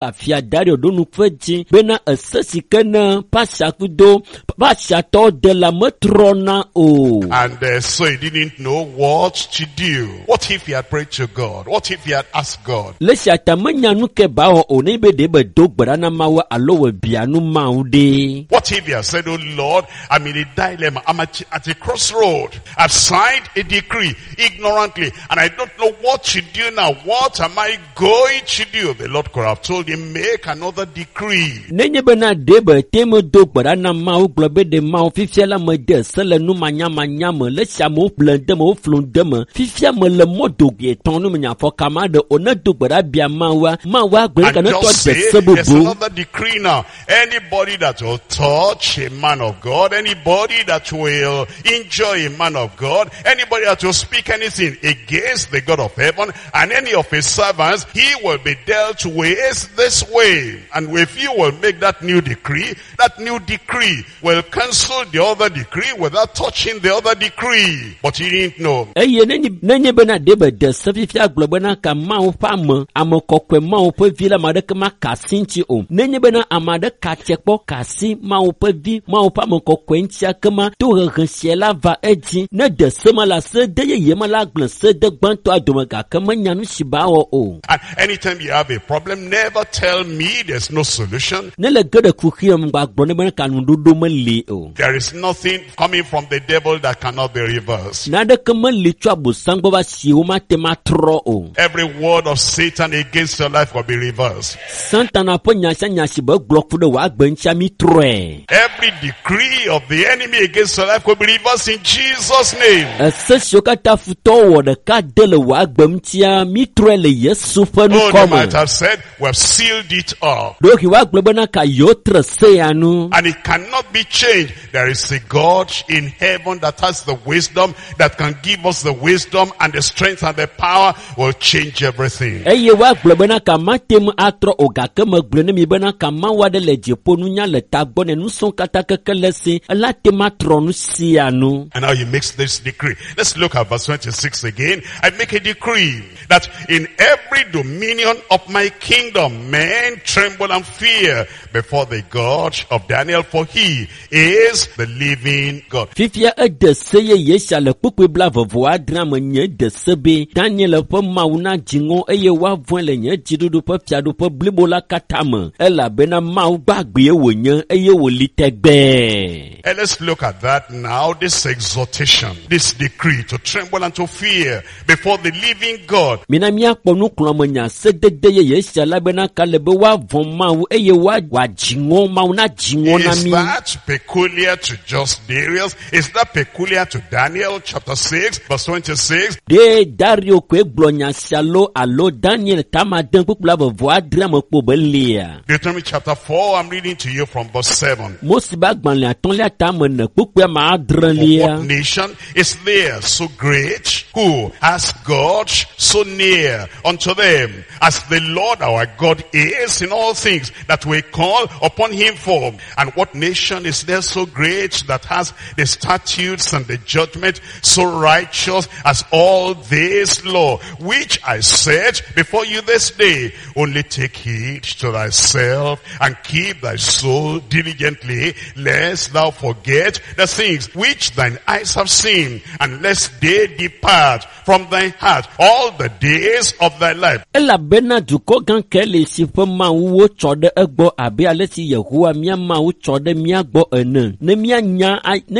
Afia Dario ɖo nuƒe dzi bena ese si ke ne Pasiakudo Pasiatɔwo de la metrɔna o. And so he didn't know what to do. What if he had prayed to God? What if he had asked God? Le sia ta menya nu ke ba wɔ o ne be ɖe be do gbe ɖa na Mawu alo wòbia nu Mawu ɖe. What if he had said, "Oh Lord, I'm in a dilemma. I'm at a crossroad. I've signed a decree ignorantly and I don't know what to do now. What am I going to do?" The Lord could have told him, "Make another decree." Nenye bena ɖe be te medo gbe ɖa na Mawu gblɔ be ɖe Mawu fifia la mede se le nu manyamanya me le sia amewo ƒle de me woflu de me fifia me le mɔ dogoe tɔn nu me nya afɔ ka ma ɖe o ne do gbe ɖa bia Mawua Mawua gblɔ And ne tɔ just de say, se there's bubu. another decree now. Anybody that will touch a man of God, anybody that will injure a man of God, anybody that will speak anything against the God of heaven and any of his servants, he will be dealt with this way. And if you will make that new decree will cancel the other decree without touching the other decree. But he didn't know. Eye nenye bena ɖe be de se fifia gblɔ bena ka Mawu ƒe ame kɔkɔe Mawu ƒe vi la ame aɖeke maka asi ŋuti o. Nenye bena ame aɖe ka tse kpɔ ka asi Mawu ƒe vi Mawu ƒe ame kɔkɔe ŋutia kema tohehe sia la va edzi. Ne de se ma la se de yeye ma la gblẽ se de gbãtɔa dome gake menya nu si ba wɔ o. And anytime you have a problem, never tell me there's no solution. Ne le ge ɖe kuxi me ŋgba gblɔ ne bena ka nuɖoɖo meli o. There is nothing coming from the devil that cannot be reversed. Naneke meli tso abosam gbɔ va si womate ŋu atrɔ o. Every word of Satan against your life will be reversed. Satana ƒe nya sia nya si be gblɔ ku ɖe wò agbe ŋutia mi trɔe. Every decree of the enemy against your life will be reversed in Jesus' name. Ese siwo katã futɔwo wɔ ɖeka de le wò agbe ŋutia mi trɔe le Yesu ƒe Oh, they ŋkɔ me. might have said, "We have sealed it up." Ɖewohĩ woagblɔ bena ka yewo tre se ya nu. And it cannot be changed. There is a God in heaven that has the wisdom, that can give us the wisdom and the strength and the power will change everything. Eye woagblɔ bena ka mate ŋu atrɔ o gake megblɔ ne mi bena ka Mawu aɖe le dziƒo nunya le tagbɔ ne nusẽ katã keke le si ela te ŋu atrɔ nu sia nu. And now he makes this decree. Let's look at verse 26 again. I make a decree that in every dominion of my kingdom, men tremble and fear before the God of Daniel, for he is the living God. Fifia ede se yeye sia le kpukpui 26 me nye de se be Daniel ƒe Mawu na dziŋɔ eye woavɔ̃e le nye dziɖuɖu ƒe fiaɖuƒe blibo la katã me elabena Mawu gbagbee wònye eye wòli tegbee. And let's look at that now, this exhortation, this decree to tremble and to fear before the living God. Mina míakpɔ nuxlɔ̃amenya sedede yeye sia la bena ka le be woavɔ̃ Mawu eye wòadziŋɔ Mawu na dziŋɔ na Is mí. that peculiar to just Darius? Is that peculiar to Daniel chapter 6 verse 26? Ɖe Dario koe gblɔ nya sia lo alo Daniel tamade kpukpui 26 me kpo be lia. Deuteronomy chapter 4, I'm reading to you from verse 7. Mose ƒe agbalẽ atɔ̃lia tame ene kpukpui ame For adrelia. what nation is there so great who has God so near unto them as the Lord our God is in all things that we call upon him for? And what nation is there so great that has the statutes and the judgment so righteous as all this law, which I set before you this day? Only take heed to thyself and keep thy soul diligently, lest thou forget the things which thine eyes have seen, and lest they depart from thy heart all the days of thy life. Elabena dukɔ gã ke le si ƒe Mawuwo tsɔ ɖe egbɔ abe ale si Yehowa mía Mawu tsɔ ɖe mía gbɔ ene. Ne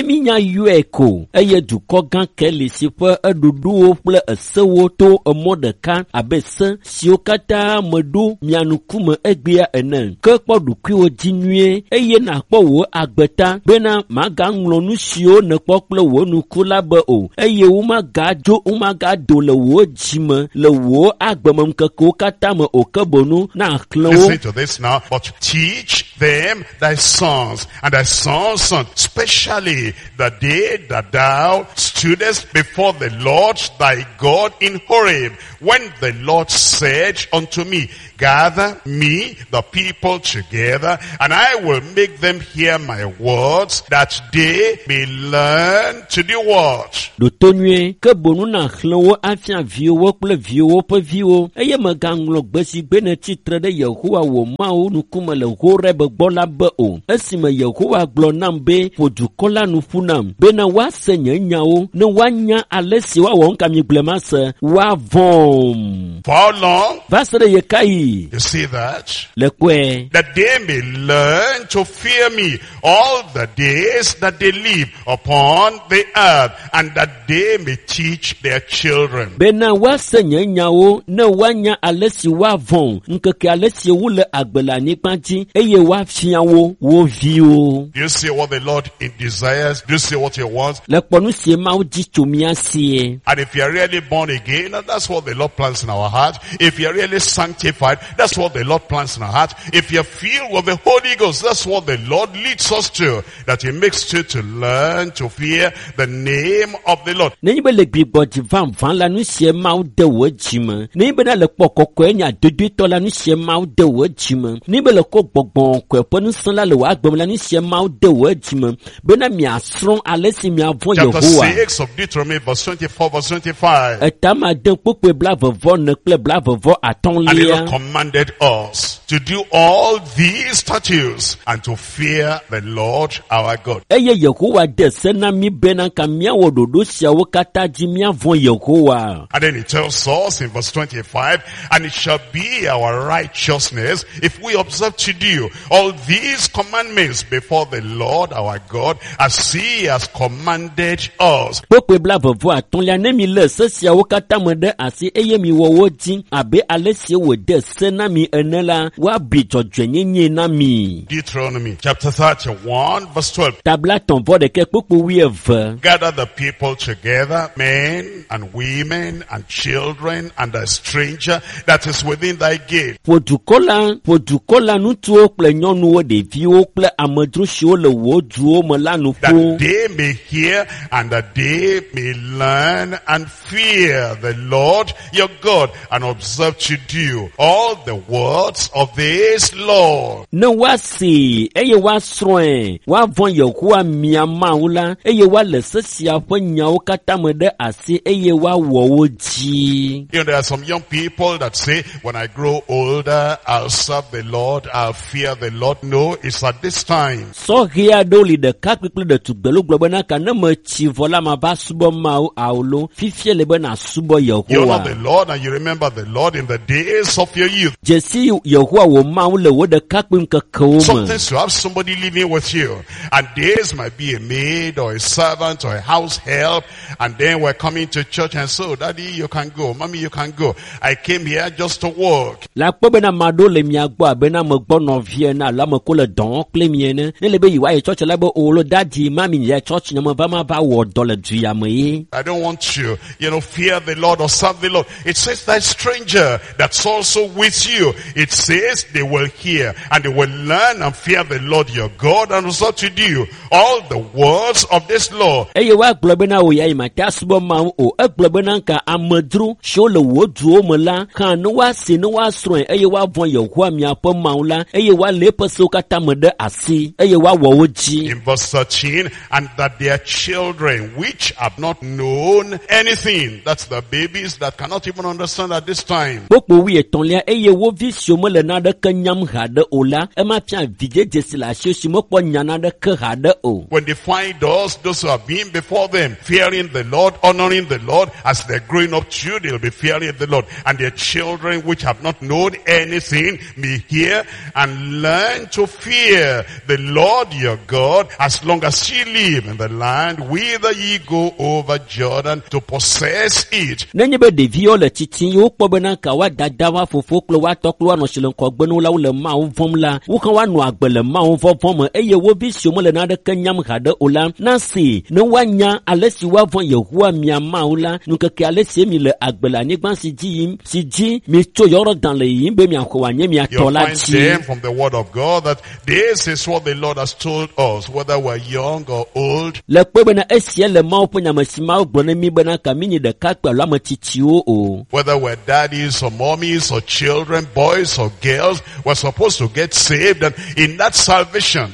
míanya yɔe ko eye dukɔ gã ke le si ƒe eɖuɖuwo kple esewo to emɔ ɖeka abe se siwo katã meɖo mia ŋkume egbea ene. Ke kpɔ ɖokuiwò dzi nyuie eye nàkpɔ wò agbe ta bena màgaŋlɔ nu siwo nèkpɔ kple wò ŋku la be o eye womagado le wò dzime le wò agbemeŋkekewo katã me o ke boŋ nàxlẽ wo. Listen to this now. But teach them thy sons and thy sons' sons, especially the day that thou stoodest before the Lord thy God in Horeb, when the Lord said unto me, Gather me the people together, and I will make them hear my words, that they may learn to do what? Ɖo to nyuie, ke boŋ nàxlẽ wo afia viwòwo kple viwòwo ƒe viwo eye mègaŋlɔ gbe si gbe nètsi tre ɖe Yehowa wò Mawu ŋkume le Horeb gbɔ la be o. Esime Yehowa gblɔ nam be, ƒo dukɔ la nu ƒu nam bena woase nye nyawo ne woanya ale si woawɔ nu ka mi gblɔe mase, woavɔ̃m. For how long? Va se ɖe ɣe ka ɣi? You see that? Le kpɔe. That they may learn to fear me all the days that they live upon the earth, and that they may teach their children. Bena woase nye nyawo ne woanya ale si woavɔ̃ ŋkeke ale si wole agbe le anyigba dzi eye woafia wo wo viwo. Do you see what the Lord desires? Do you see what he wants? Le kpɔ nu si Mawu di tso mía sie. And if you are really born again, that's what the Lord plants in our heart. If you are really sanctified, that's what the Lord plants in our heart. If you are filled with the Holy Ghost, that's what the Lord leads us to. That he makes you to learn to fear the name of the Lord. Nenye be le gbigbɔdzi vavã la, nu sie Mawu de wò dzime. Nenye be na le kpɔ kɔkɔe nya dodoetɔ la, nu sie Mawu de wò dzime. Nenye be le kɔ gbɔgbɔ kɔe ƒe ŋusẽ la le wò agbe me la, nu sie Mawu de wò dzime. Bena miasrɔ̃ ale si miavɔ̃ Chapter Yehowa. 6 of Deuteronomy, verse 24, verse 25. Etama de kpukpui blaeve-vɔ-ene kple blaeve-vɔ And the atɔ̃lia. Lord commanded us to do all these statutes and to fear the Lord our God. Eye Yehowa de se na mí bena ka míawɔ ɖoɖo siawo katã dzi míavɔ̃ Yehowa. And then he tells us in verse 25, and it shall be our righteousness if we observe to do all these commandments before the Lord our God, as he has commanded us. Kpukpui blaeve-vɔ atɔ̃lia ne mi lé se siawo katã me ɖe asi eye miwɔ wo dzi abe ale si wòde se na mi ene la, woabui dzɔdzɔenyenye na mi. Deuteronomy chapter 31 verse 12. Tabla tɔ̃ vɔ ɖeke kpukpui wuieve. Gather the people together, men and women and children and the stranger that is within thy gate. Ƒo dukɔ la, ƒo dukɔ la ŋutsuwo kple nyɔnuwo, ɖeviwo kple amedzro siwo le wò duwo me la nu That ƒu. they may hear and that they may learn and fear the Lord your God and observe to do all the words of this law. Ne woasee eye woasrɔ̃e, woavɔ̃ Yehowa mia Mawu la eye woalé se sia ƒe nyawo katã me ɖe asi eye woawɔ wo dzi. You know, there are some young people that say, when I grow older, I'll serve the Lord, I'll fear the Lord. No, it's at this time. Sɔhɛ aɖewo li ɖekakpui kple ɖetugbiwo gblɔ bena ka ne metsi vɔ la mava subɔ Mawu alo fifia le be nàsubɔ You Yehowa. honor the Lord and you remember the Lord in the days of your youth. Dzesi Yehowa wò Mawu le wò ɖekakpui ŋkekewo me. Sometimes you have somebody living with you, and this might be a maid or a servant or a house help, and then we're coming to church and so, Daddy, you can go, Mommy, you can go. I came here just to work. Le akpɔ bena ame aɖewo le mia gbɔ abe na ame gbɔ nɔvi ene alo ame ko le dɔ wɔm kple mi ene. Ne le be yewoayi tsɔtsi la be o lo daddy mami nye tsɔtsi nye me va ma va wɔ dɔ le du ya me ye. I don't want to, fear the Lord or serve the Lord. It says that stranger that's also with you. It says they will hear and they will learn and fear the Lord your God and also to do all the words of this law. Eye woagblɔ bena o ya yi mate asubɔ Mawu o. Egblɔ bena ka amedzro siwo le wò duwo me la hã ne woase ne woasrɔ̃e eye woavɔ̃ Yehowa miaƒe Mawu la eye woalé eƒe sewo katã me ɖe asi eye woawɔ wo dzi. In verse 13, and that their children which have not known anything, that's the babies that cannot even understand at this time. Kpukpui wuietɔ̃lia eye wo vi siwo mele naneke nyam haɖe o la, ema fia vidzedze si le asiwò si mekpɔ nya naneke haɖe o. When they find us, those who have been before them, fearing the Lord, honoring the Lord, as they're growing up too, they'll be fearing the Lord. And their children which have not known anything may hear and learn to fear the Lord your God as long as ye live in the land whither ye go over Jordan to possess it. Nenye be ɖeviwo le tsitsim ye wokpɔ bena ka woa dada, woa fofo kple woa tɔ kple woa nɔ si le ŋgɔgbe na wo la wole Mawu vɔ̃m la, la, wohã woanɔ agbe le Mawu vɔvɔ̃ me eye wo vi siwo mele naneke nyam haɖe o la nasi ne woanya ale si woavɔ̃ Yehowa mia Mawu la ŋkeke ale si mi le agbe le anyigba si dzi yim si dzi mitso Yɔrɔdan le yiyim be miaxɔ wòanye mia You'll tɔ la find dzi. them from the word of God that this is what the Lord has told us, whether we're young or old, Le kpe bena esia le Mawu ƒe nyame si Mawu gblɔ ne mí bena ka mí nye ɖekakpui alo ame tsitsiwo o. whether we're daddies or mommies or children, boys or girls, we're supposed to get saved. And in that salvation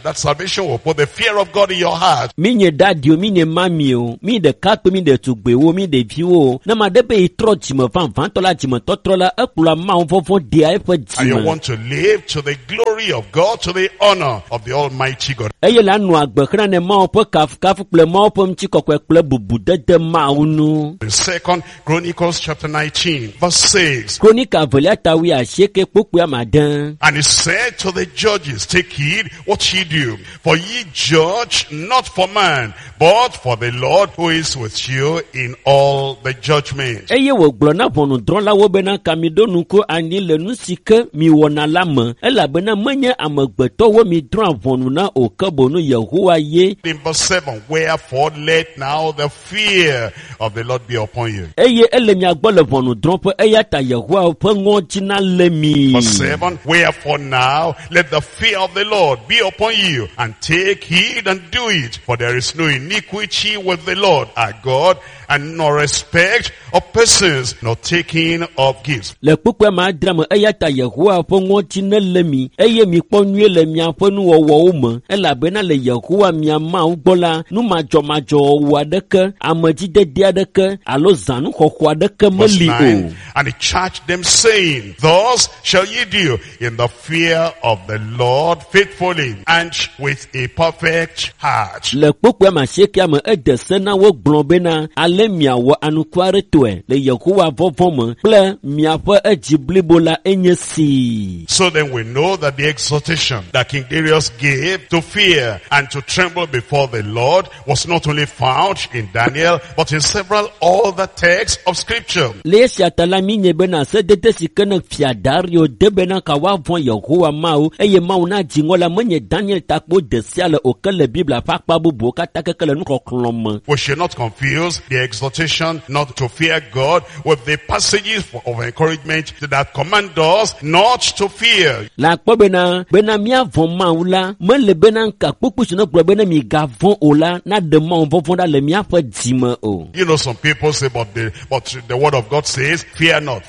will put the fear of God in your heart. Mi nye dadi o, mi nye mami o, mi ɖekakpui, mi ɖetugbiwo, mi ɖeviwo o. Ne ame aɖe be yetrɔ dzime vavãtɔ la dzimetɔtrɔ la, ekplɔa Mawu vɔvɔ̃ dea eƒe And you dzime. want to live to the glory of God, to the honor of the Almighty God. Eye la nɔ agbe xlẽ ne Mawu ƒe kafukafu kple Mawu ƒe ŋutikɔkɔe kple bubudede Mawu nu. In Second Chronicles chapter 19, verse 6. Kronika evelia ta wuiasieke kpukpui ame ade. And he said to the judges, take heed what ye do, for ye judge not for man, but for the Lord who is with you in all the judgment. Eye wògblɔ na ʋɔnudrɔ̃lawo bena ka miɖo ŋku anyi le nu si ke miwɔna la me elabena menye amegbetɔwo midrɔ̃a ʋɔnu na o ke boŋ Yehowa ye. In verse 7, wherefore let now the fear of the Lord be upon you. Eye ele mia gbɔ le ʋɔnudrɔ̃ƒe eya ta Yehowa ƒe ŋɔdzi nalé mi. Verse 7, wherefore now let the fear of the Lord be upon you, and take heed and do it, for there is no iniquity with the Lord our God, and no respect of persons, nor taking of gifts. Le kpukpui ame adre me eya ta Yehowa ƒe ŋɔdzi nelé mi eye mikpɔ nyuie le miaƒe nuwɔwɔwo me elabena le Yehowa mia Mawu gbɔ la nu madzɔmadzɔwɔwɔ aɖeke, amedzidede aɖeke alo zãnuxɔxɔ aɖeke Verse meli o. 9, and he charged them saying, thus shall ye do in the fear of the Lord faithfully and with a perfect heart. Le kpukpui ame asiekea me ede se na wo gblɔ bena ale miawɔ anukuaretɔe le Yehowa vɔvɔ̃ me kple miaƒe edzi blibo la enye si. So then we know that the exhortation that King Darius gave to fear and to tremble before the Lord was not only found in Daniel, but in several other texts of scripture. Le esia ta la mi nye bena sedede si ke ne fia Dario de bena ka woavɔ̃ Yehowa Mawu eye Mawu nadzi ŋɔ la menye Daniel ta kpo de sia le o ke le Biblia ƒe akpa bubuwo katã keke le nuxɔxlɔ̃ me. We should not confuse the exhortation not to fear God with the passages of encouragement that command us not to fear. Le akpɔ bena bena míavɔ̃ Mawu la mele bena nka kpukpu si ne gblɔ bena migavɔ̃ o la naɖe Mawu vɔvɔ̃ ɖa le míaƒe dzime o. You know, some people say, but the word of God says, fear not,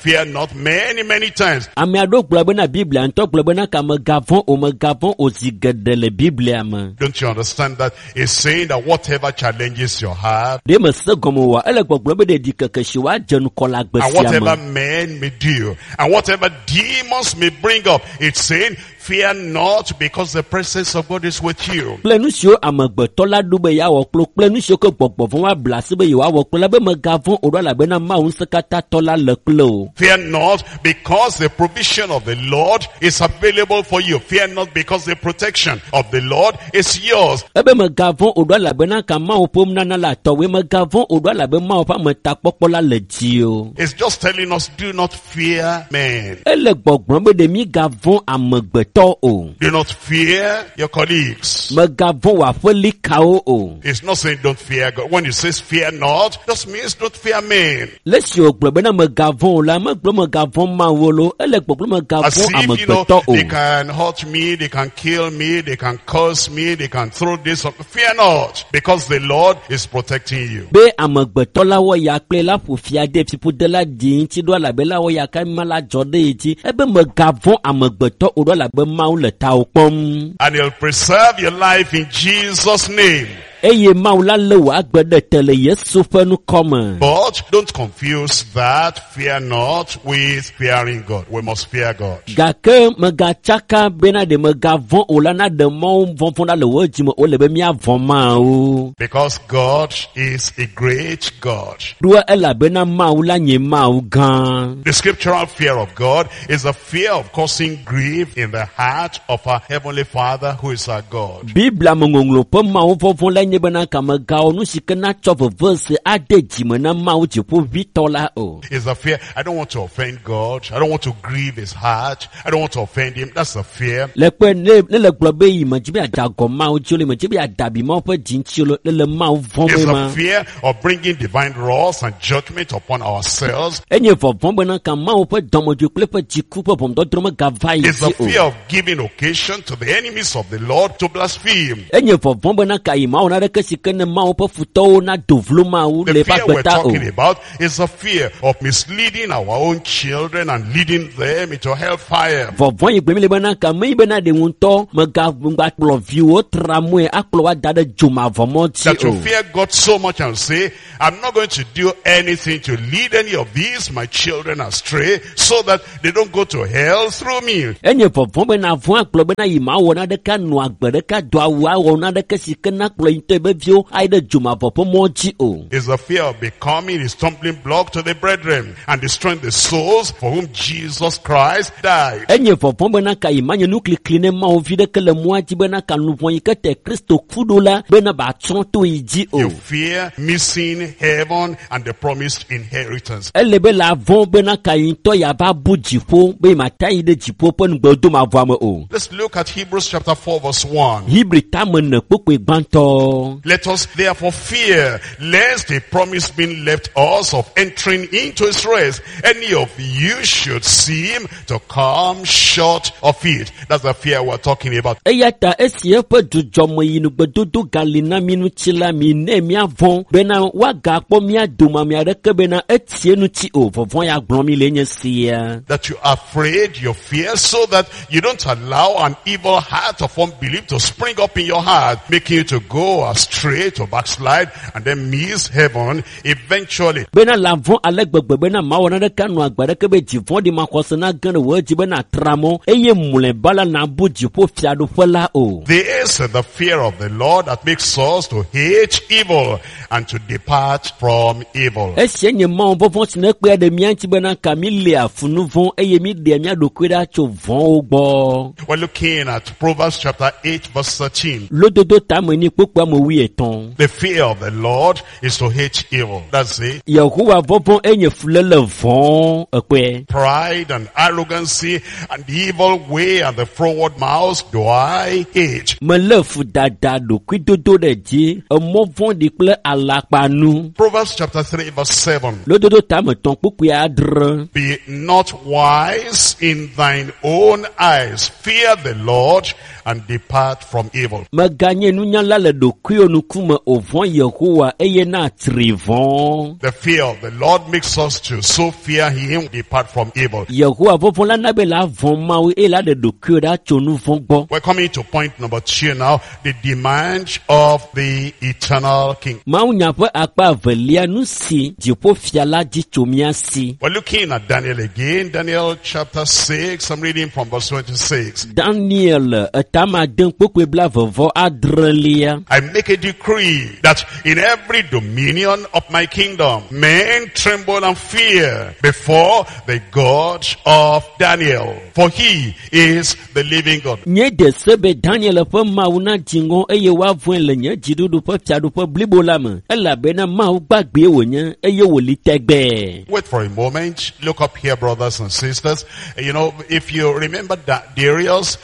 many, many times. Ame aɖewo gblɔ bena Biblia ŋutɔ gblɔ bena ka megavɔ̃ o megavɔ̃ o zi geɖe le Biblia me. Don't you understand that it's saying that whatever challenges your heart Ɖe mese gɔme oa ele gbɔgblɔ be ɖeɖi keke si woadze ŋkɔ le agbe and sia whatever me. men may do and whatever demons may bring up, it's saying, fear not, because the presence of God is with you. Kple nu siwo amegbetɔ la ɖo be yeawɔ kple kple nu siwo ke gbɔgbɔ vɔ̃ woabla asi be yewoawɔ kple la be megavɔ̃ o ɖo elabena Mawu ŋusẽkatãtɔ la le kple o. Fear not, because the provision of the Lord is available for you. Fear not, because the protection of the Lord is yours. Ebe megavɔ̃ o ɖo elabena ka Mawu ƒe nunana le atɔwoe megavɔ̃ o ɖo elabe Mawu ƒe ametakpɔkpɔ la le dzi o. It's just telling us, do not fear men. Ele gbɔgblɔm be ɖe migavɔ̃ amegbetɔ o. Do not fear your colleagues. Megavɔ̃ wò aƒelikawo o. It's not saying don't fear God. When it says fear not, just means don't fear men. Le esi wògblɔ bena megavɔ̃ o la, megblɔ megavɔ̃ Mawu loo, ele gbɔgblɔ As megavɔ̃ if, you know, amegbetɔ o. they can hurt me, they can kill me, they can curse me, they can throw this up. Fear not, because the Lord is protecting you. Be amegbetɔ la wɔ ya kple la ƒo fia de fiƒode la ɖi ŋuti ɖo elabe la wɔ ya ka ma la dzɔ ɖe ye dzi. Ebe megavɔ̃ amegbetɔ o ɖo elabe Mawu le tawò kpɔm. And he'll preserve your life in Jesus' name. Eye Mawu la lé wò agbe ɖe te le Yesu ƒe ŋkɔ me. But don't confuse that fear not with fearing God. We must fear God. Gake megatsaka bena ɖe megavɔ̃ o la naɖe Mawu vɔvɔ̃ ɖa le wò dzime o le be míavɔ̃ Mawu. Because God is a great God. Ɖoa elabena Mawu la nye Mawu gã. The scriptural fear of God is the fear of causing grief in the heart of our Heavenly Father who is our God. Biblia me ŋɔŋlɔ ƒe Mawu vɔvɔ̃ la nye bena kamegawɔ nu si ke natsɔ vevese ade dzime na Mawu dziƒoʋĩtɔ la o. It's the fear. I don't want to offend God. I don't want to grieve his heart. I don't want to offend him. That's the fear. Le kpe ne ne le gblɔ be yi me dzi be yeada agɔ Mawu dzi o, le me dzi be yeada abi Mawu ƒe dzi ŋuti o, le le Mawu vɔ̃m It's ye the ma. fear of bringing divine wrath and judgment upon ourselves. Enye vɔvɔ̃ bena ka Mawu ƒe dɔmedzoe kple eƒe dziku ƒe ʋɔnudɔdrɔ̃ megava yi It's the dzi o. fear of giving occasion to the enemies of the Lord to blaspheme. Enye vɔvɔ̃ bena ka yi Mawu naɖeke si ke ne Mawu ƒe futɔwo nado vlo Mawu The le eƒe fear we're agbe ta o. talking about is the fear of misleading our own children and leading them into hellfire. Vɔvɔ̃ yi gblɔm le bena ka meyi bena ɖe ŋutɔ mega akplɔ viwo tra mɔe akplɔ wo ada ɖe dzomavɔmɔ dzi That o. you fear God so much and say, I'm not going to do anything to lead any of these, my children, astray, so that they don't go to hell through me. Enye vɔvɔ̃ bena vɔ̃ agblɔ bena yi mawɔ naɖeke anɔ agbe ɖeka do awu awɔ naɖeke si ke nakplɔ yi ŋutɔ ebe viwo ayi ɖe dzomavɔ ƒe mɔ dzi o. Is the fear of becoming a stumbling block to the brethren and destroying the souls for whom Jesus Christ died. Enye vɔvɔ̃ bena ka yi manye nuklikli ne Mawu vi ɖeke le mɔa dzi bena ka luʋɔ yi ke te Kristo ku ɖo la bena batsrɔ̃ to yi dzi o. You fear missing heaven and the promised inheritance. Ele be la vɔ̃ bena ka yi ŋutɔ yava bu dziƒo be mata yi ɖe dziƒo ƒe nugbedomavɔa me o. Let's look at Hebrews chapter 4 verse 1. Hebri tame ne kpokpoe gbãtɔ. Let us therefore fear, lest a promise being left us of entering into his rest, any of you should seem to come short of it. That's the fear we're talking about. Eya ta esi eƒe dzudzɔme yi nugbedodo gali na mi ŋuti la mi ne miavɔ̃ bena woagakpɔ mía dome ame aɖeke bena etsie ŋuti o. Vɔvɔ̃ ya gblɔm mi le nye sia. That you are afraid, you fear, so that you don't allow an evil heart of unbelief to spring up in your heart, making you to go astray, to backslide, and then miss heaven eventually. Bena la vɔ̃ ale gbegbe bena mawɔ naneke anɔ agbe aɖeke be dzivɔ̃ɖi maxɔse nage ɖe wò dzi bena atra mɔ eye mlɔeba la nabu dziƒo fiaɖuƒe la o. This is the fear of the Lord that makes us to hate evil and to depart from evil. Esia nye Mawu vɔvɔ̃ si ne kpea ɖe mía ŋuti bena ka mi lea fu nu vɔ̃ eye mi ɖea mía ɖokui ɖa tso vɔ̃wo gbɔ. We're looking at Proverbs chapter 8 verse 13. Lododo tame ni kpokpo ame wuietɔ̃. The fear of the Lord is to hate evil. That's it. Yehowa vɔvɔ̃ enye fuléle vɔ̃ ekpɔe. Pride and arrogancy and the evil way and the froward mouth do I hate. Melé fu dada ɖokuidodo ɖe dzi, emɔ vɔ̃ɖi kple alakpanu. Proverbs chapter 3 verse 7. Lododo tame tɔ̃ kpukpui adre. Be not wise in thine own eyes. Fear the Lord and depart from evil. Meganye nunyala le ɖokuiwò ŋkume o vɔ̃ Yehowa eye natri vɔ̃. The fear of the Lord makes us to so fear him, depart from evil. Yehowa vɔvɔ̃ la na be la vɔ̃ Mawu eye la ɖe ɖokuiwò ɖa tso nu vɔ̃ gbɔ. We're coming to point number 2 now, the demand of the eternal King. Mawunya ƒe akpa evelia nu si dziƒofia la dzi tso mía si. We're looking at Daniel again, Daniel chapter 6, I'm reading from verse 26. Daniel etama ade kpukpui blaeve vɔ adrelia. I make a decree that in every dominion of my kingdom, men tremble and fear before the God of Daniel, for he is the living God. Nye de se be Daniel ƒe Mawu na dzi ŋɔ eye woavɔ̃e le nye dziɖuɖu ƒe fiaɖuƒe blibo la me elabena Mawu gbagbee wònye eye wòli tegbee. Wait for a moment. Look up here, brothers and sisters. You know, if you remember that Darius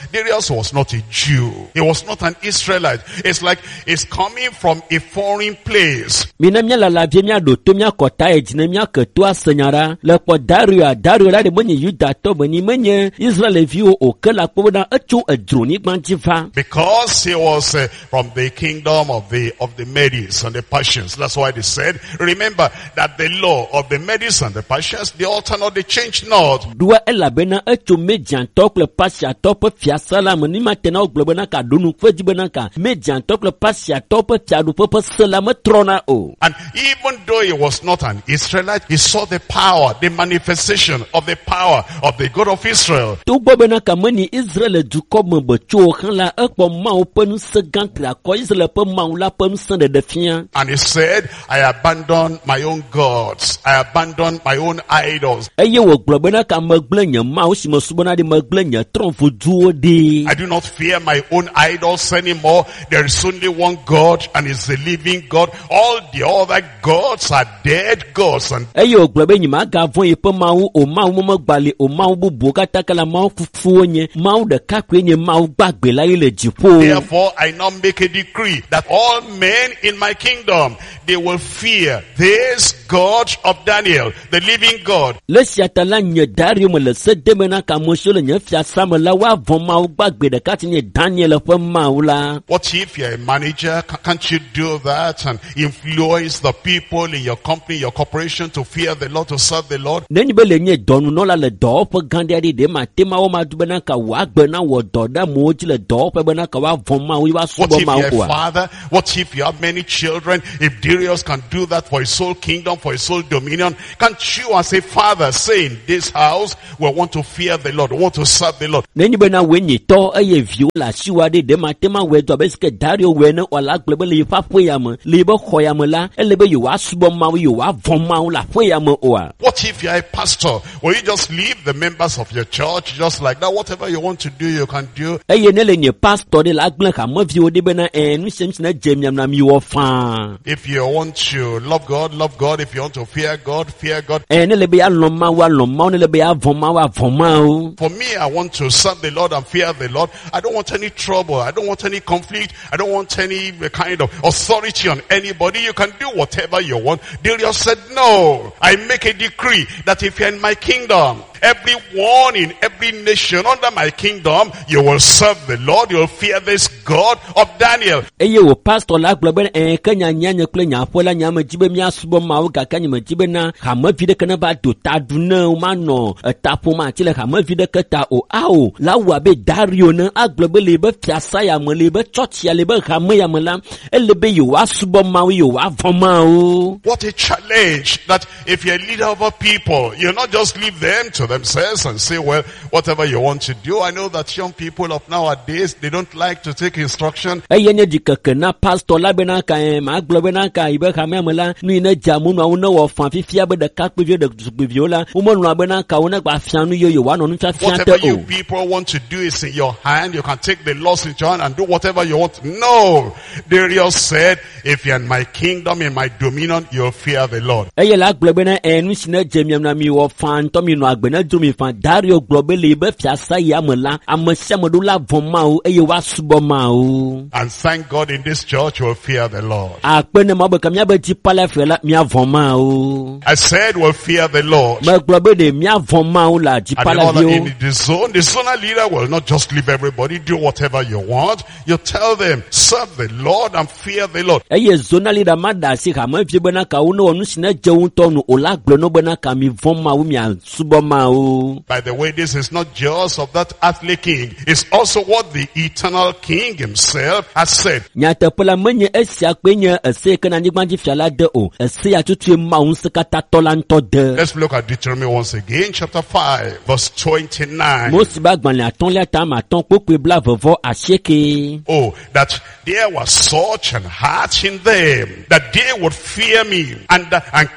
was not a Jew. He was not an Israelite. It's like it's coming from a foreign place. Mina míalala vie míaɖo to míakɔ ta yi dzi ne míake to ase nya ɖa. Le kpɔ Dario, Dario la ɖe menye Yudatɔ menye menye Israelviwo o ke le akpɔ bena etso edzronyigba dzi va. Because he was from the kingdom of the Medes and the Persians. That's why they said, remember that the law of the Medes and the Persians, they alter not, they change not. Ɖoa elabena etso Mediantɔ kple Pasiatɔ ƒe fiasa la me. Ni mate na wogblɔ bena ka ɖo nu ƒe dzi bena ka Mediantɔ kple Pasiatɔ ƒe fiaɖuƒe ƒe se la metrɔna o. And even though he was not an Israelite, he saw the power, the manifestation of the power of the God of Israel. Togbɔ bena ka menyi Israel dukɔ me be tso o hã la, ekpɔ Mawu ƒe ŋusẽ gã triakɔ Israel ƒe Mawu la ƒe ŋusẽ ɖeɖe fia. And he said, I abandon my own gods. I abandon my own idols. Eye wògblɔ bena ka megblẽ nye Mawu si mesubɔna ɖi, megblẽ nye trɔ̃voduwo ɖi. I do not fear my own idols anymore. There is only one one God and is the living God. All the other gods are dead gods and eye wògblɔ be nyemagavɔ̃ yeƒe mawu o mawu megbali o mawu bubuwo katã ke la mawu fufuwo nye mawu ɖeka koe nye mawu gbagbe la ye le dziƒo. Therefore, I now make a decree that all men in my kingdom, they will fear this God of Daniel, the living God. Le esia ta la nye Dario me le se dem bena ke ame siwo le nye fiasa me la woavɔ̃ mawu gbagbe ɖeka si nye Daniel ƒe mawu la. What if you're a manager? Can't you do that and influence the people in your company, your corporation to fear the Lord, to serve the Lord? Nenye be le nye dɔnunɔla le dɔwɔƒe gã ɖe aɖe ɖe mate ma wɔ ma du bena ka wòagbe na wɔ dɔ ɖe amewo dzi le dɔwɔƒe bena ka woavɔ̃ mawu ye What woasubɔ if mawu you're a oa? father? What if you have many children? If Darius can do that for his whole kingdom, for his whole dominion, can't you as a father say in this house, we want to fear the Lord, we want to serve the Lord? Nenye bena wòe nye tɔ eye viwo le asiwò aɖe ɖe mate ma wɔe do abe si ke Dario wɔe ne wòala gblɔ be le yeƒe aƒe ya me, le yeƒe xɔ ya me la, ele be yewoasubɔ mawu, yewoavɔ̃ mawu le aƒe ya me oa? What if you're a pastor? Will you just leave the members of your church just like that? Whatever you want to do, you can do. Eye ne le nye pastor ɖe la agblẽ hameviwo ɖi bena ɛ nu sia nu si ne dze miam na miwɔ faa. If you want to love God, love God. If you want to fear God, fear God. Ɛ ne le be yealɔ̃ mawu alɔ̃ mawu, ne le be yeavɔ̃ mawu avɔ̃ mawu. For me, I want to serve the Lord and fear the Lord. I don't want any trouble. I don't want any conflict. I don't want any kind of authority on anybody. You can do whatever you want. Darius said, no. I make a decree that if you're in my kingdom, everyone in every nation under my kingdom, you will serve the Lord. You will fear this God of Daniel. Eye wò pastor la gblɔ be ɛ ke nya nya nye kple nye aƒe la nye ame dzi be míasubɔ mawu gake nye medzi bena hamevi ɖeke ne va do ta ɖu ne womanɔ eta ƒom ati le hamevi ɖeke ta o. Ao, la wɔ abe Dario ne agblɔ be le yibe fiasa ya me, le yibe tsɔtsia, le yibe hame ya me la, ele be yewoasubɔ mawu, yewoavɔ̃ mawu. What a challenge that if you're a leader over people, you not just leave them to themselves and say, well, whatever you want to do. I know that young people of nowadays, they don't like to take instruction. Eye nye ɖikeke na pastor la bena ka ɛ magblɔ bena ka yibe hamea me la nu yi ne dze amenuawo ne wɔ fã fifia be ɖekakpuiviwo ɖetugbiviwo la womelɔ̃a bena ka wo ne gba fia nu ye yewoanɔ nufiafia Whatever te you o. people want to do is in your hand. You can take the laws into your hand and do whatever you want. No. Darius said, if you're in my kingdom, in my dominion, you'll fear the Lord. Eye la gblɔ bena ɛ nu si ne dze miam na mi wɔ fã ŋutɔ mi nɔ agbe ne dzro mi fã. Dario gblɔ be le yibe fiasa ya me la ame sia ame ɖo la vɔ̃ Mawu eye woasubɔ Mawu. And thank God in this church, you'll fear the Lord. Akpe ne Mawu be ke míabe dzipalafia la míavɔ̃ Mawu. I said we'll fear the Lord. Megblɔ be ɖe míavɔ̃ Mawu le And in all dzipalaviwo. in the zone, the zonal leader will not just leave everybody, do whatever you want. You tell them, serve the Lord and fear the Lord. Eye zonal leader ma ɖe asi hamevi bena ka wo ne wɔ nu si ne dze wo ŋutɔ nu o la gblɔ no bena ka mi vɔ̃ Mawu miasubɔ Mawu. By the way, this is not just of that earthly king. It's also what the eternal king himself has said. Nyateƒe la menye esia kpe nye ese yi ke na anyigbadzi fia la de o. Ese ya tutue Mawu ŋusẽkatãtɔ la ŋutɔ de. Let's look at Deuteronomy once again, chapter 5, verse 29. Mose be agbalẽ atɔ̃lia ta ame atɔ̃ kpokpoe 29. Oh, that there was such an heart in them that they would fear me and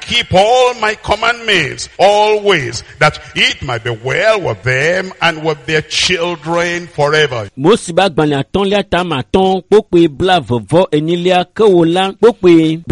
keep all my commandments always, that it might be well with them and with their children forever. Mose be agbalẽ atɔ̃lia ta ame atɔ̃ kpokpoe 44 ke wo la kpokpoe